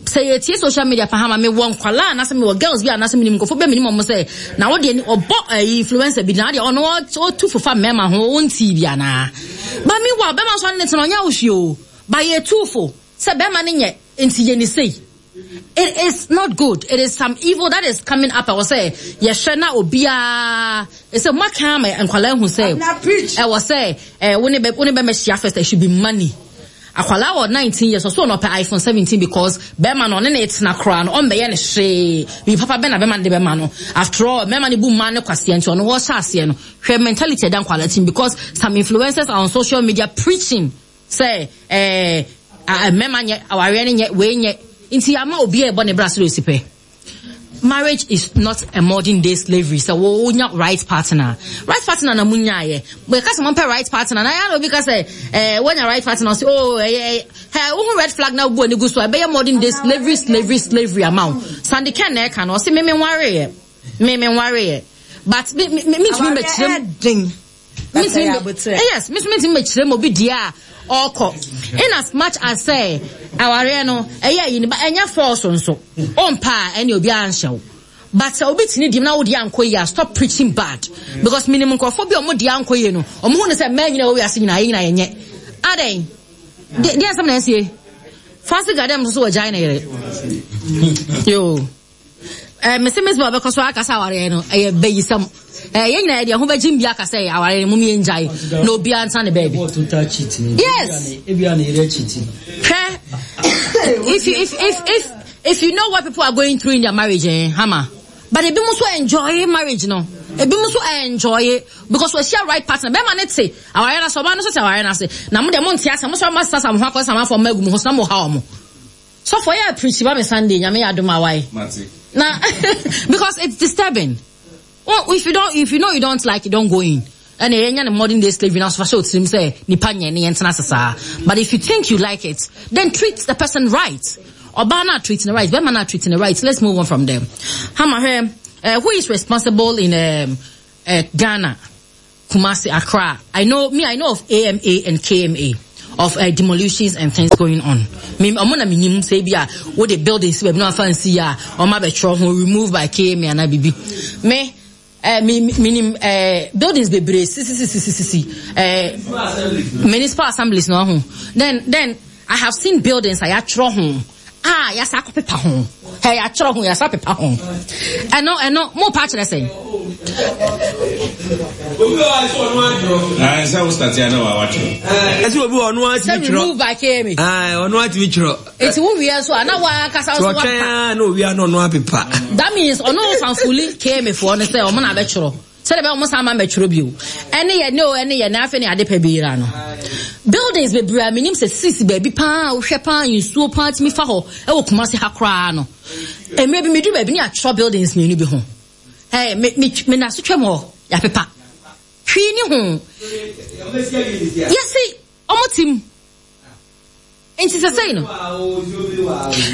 sɛ yɛtie social media pa ha ma mewɔ nkwalaa anaasɛ mewɔ girls bi anaasɛ menim nkurɔfoɔ bi a menim ɔmo sɛ na wo deɛ ni ɔbɔ ɛyi influencer bi na deɛ ɔno ɔtu fofa mmarima ho ɔntii bi anaa. Ba mi wɔ bɛrima nso ne tena ɔnyɛ wohwie o. Ba yɛtu fo sɛ bɛrima ne nyɛ nti yɛ ne sei. It is not good. It is some evil that is coming up. I will say, yɛhwɛ na obiara ɛsɛ mo aka ama nkwalaa hu sɛ ɛwɔ sɛ ɛɛ wo ne bɛ wo ne bɛrima hyia first, it should be money. Akwalaa wɔ nineteen years ɔso ɔno ɔpɛ iPhone seventeen because bɛrima no ɔne ne tena koraa no ɔmbɛyɛ ne hwee. Bi papa bɛ na bɛrima no de bɛma no. After all, bɛrima no bu mmaa ne kwaseɛ nti ɔno wɔhyɛ aseɛ no. Hwɛ mentality ɛda nkwalaa tim because some influencers are on social media preaching sɛ ɛɛ mmarima nyɛ awareɛ no nyɛ wei nyɛ nti ama obi a ɛbɔ ne bra sɛ osi pɛ. Marriage is not a modern day slavery. So wo nya right partner. Right partner na munya ye. But ka sɛ mo right partner na ya na obi ka sɛ eh wonya right partner say oh eh eh hey wo red flag na wo ani gu so ɛbɛyɛ modern day slavery slavery slavery amount. Sandy Ken na ɛka no ɔse me me nware ye. Me me nware ye. But me me me ntumi mekyerɛ me yes, me me mekyerɛ mo bi deɛ a ɔkɔ. In as much as say awareɛ no ɛyɛ yi ba ɛnyɛ force nso. Ɔmpa a ɛne obi anhyɛ wo. But sɛ obi tini dim na wo deɛ ankɔ yie a stop preaching bad. Because minim nkurɔfoɔ bi a ɔmo deɛ ankɔ yie no, ɔmo hu ne sɛ mmaa nyinaa wɔ wiase nyinaa yɛ nyinaa yɛnyɛ. Adɛn? Deɛ nsɛm na ɛsie. Fancy gadam nso so wɔ gyae ne yere. Yo. Eh, mese Mizbel bɛkɔ so aka sɛ awareɛ no ɛyɛ bayisɛm. Eh, yɛn nyinaa yɛde ɛho bɛgye mbia aka sɛ awareɛ no mom yɛngyae na obiara nsa ne baabi. Yes. Hwɛ, if you if if if if you know what people are going through in their marriage, eh, Hama. But ebi mo nso enjoy marriage no. Ebi mo nso enjoy because wɔahyia right partner. Bɛrima ne te awareɛ no ase, ɔbaa no nso te awareɛ no ase. Na mo deɛ mo nte ase, mo sɔrɔ mo asesa mo ho akɔ sɛ amanfoɔ mma agu mo ho so na mo ha wɔn. Sɔfo yɛ preach ba me Sunday, Nyame yɛ adom a why? Na because it's disturbing. Well, if you don't, if you know you don't like it, don't go in. Ɛna yɛnya ne modern day slavery na so fa hyɛ otirim sɛ nipa nyɛ ne yɛntena ase saa. But if you think you like it, then treat the person right. Ɔbaa na treat no right, bɛrima na treat no right. Let's move on from there. Hama hwɛ, uh, who is responsible in um, uh, Ghana? Kumasi, Accra. I know me. I know of A M A and K M A of uh, demolitions and things going on. Me, ɔmo na minim sɛ bi a wo de building si baabi na wafa nsi a ɔmo abɛtwerɛ ho remove by K M A ana bibi. Me eh, me minim eh, buildings bebree sisi sisi sisi sisi eh, municipal assemblies na ɔho. Then then I have seen buildings a yɛatwerɛ ho a yɛasa akɔpepa ho. Ɛ yɛatwerɛ ho, yɛasa pepa ho. Ɛno ɛno mo pa kyerɛ sɛn? Ah, sɛ wo start ya na wa watwerɛ. Ɛsɛ obi wɔ ɔno Sɛ atumi twerɛ. Remove by K M A. Ɔno atumi twerɛ. Nti wo wie nso a na wakasa sɛ nso ɔtwɛn wapa. a na owia na ɔno apepa. That means ɔno fanfuli K M A foɔ no sɛ ɔmo na abɛtwerɛ. Sɛdeɛ bɛyɛ ɔmo san ma mɛtwerɛ bio. Ɛne yɛ ne o, ɛne yɛ ne afei ne ade pɛ bi yira no. Buildings bebree a menim sɛ sisi baabi paa, wohwɛ paa, nsuo paa tumi fa hɔ ɛwɔ Kumasi ha koraa no. Mmerɛ bi meduru baabi ne atwerɛ buildings mmienu bi ho. Ɛɛ me me me na so twam hɔ yɛapepa. Hwee ni ho. Yɛsi ɔmo tim. Nti sɛ sɛyi no,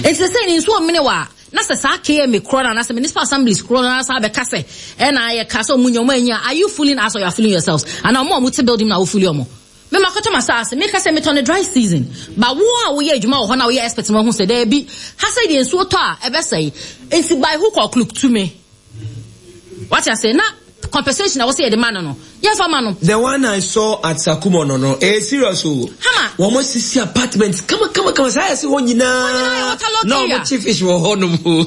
nti sɛ sɛyi no nsuo mene wa na sɛ saa K M A korɔ no anaasɛ municipal assemblies korɔ no anaasɛ abɛka sɛ ɛna yɛka sɛ ɔmo nya ɔmo anya, are you fooling us or you are fooling yourselves? Ana ɔmo a ɔmo te building na wo fooling ɔmo? Me ma kɔtɔ ma saase, meka sɛ metɔ no dry season, but wo a woyɛ adwuma wɔ hɔ na woyɛ expert no, wahu sɛ daabi, ha sɛ deɛ nsuo tɔ a ɛbɛsɛe, nti by hook or crook to me wate ase na compensation a wɔsɛ yɛde ma no no yɛmfa ma no. The one I saw at Sakumo no no, eh, serious o. Hama. Wɔn mo sisi apartment kama kama kama saa yɛ si hɔ nyinaa yɛ nyinaa. waterlogged Na area. wɔn kye fish wɔ hɔ nom o.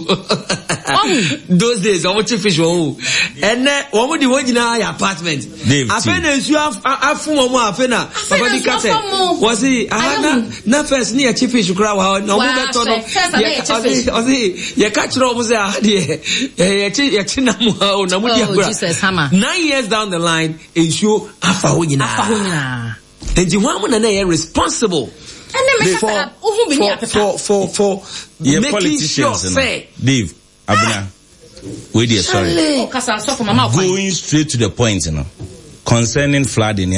Ɔhu. Those days wɔn kye fish wɔ hɔ o. Ɛnɛ wɔn de wɔn nyinaa yɛ apartment. Dave, Afei na nsuo af- a- afun wɔn a afei na Afei papa na bi ka nsuo sɛ afam mo. wɔsi aha Ayɛ na hu. Na first ne yɛ kye fish koraa wɔ ha na wɔn Waa, bɛtɔ no. hwɛ, first na Yɛ- yɛ kye ɔsi fish. Ɔsi yɛka kyerɛ wɔn sɛ aha deɛ ɛ, yɛkye yɛkye nam ha o na mo di Oh, agorɔ. Jesus, Hama. Nine years down the line, nsuo afa hɔ nyinaa. Afa hɔ nyinaa. Nti hɔn mo na na yɛ responsible Ɛne meka for sɛ wohu bi ne for apepa. for for for Yɛ making sure politicians no. sɛ Dave, Abena, wei deɛ, sorry. Ɔkasa, sɔfo mama ɔkwan. Going straight to the point no, concerning flooding ne ade.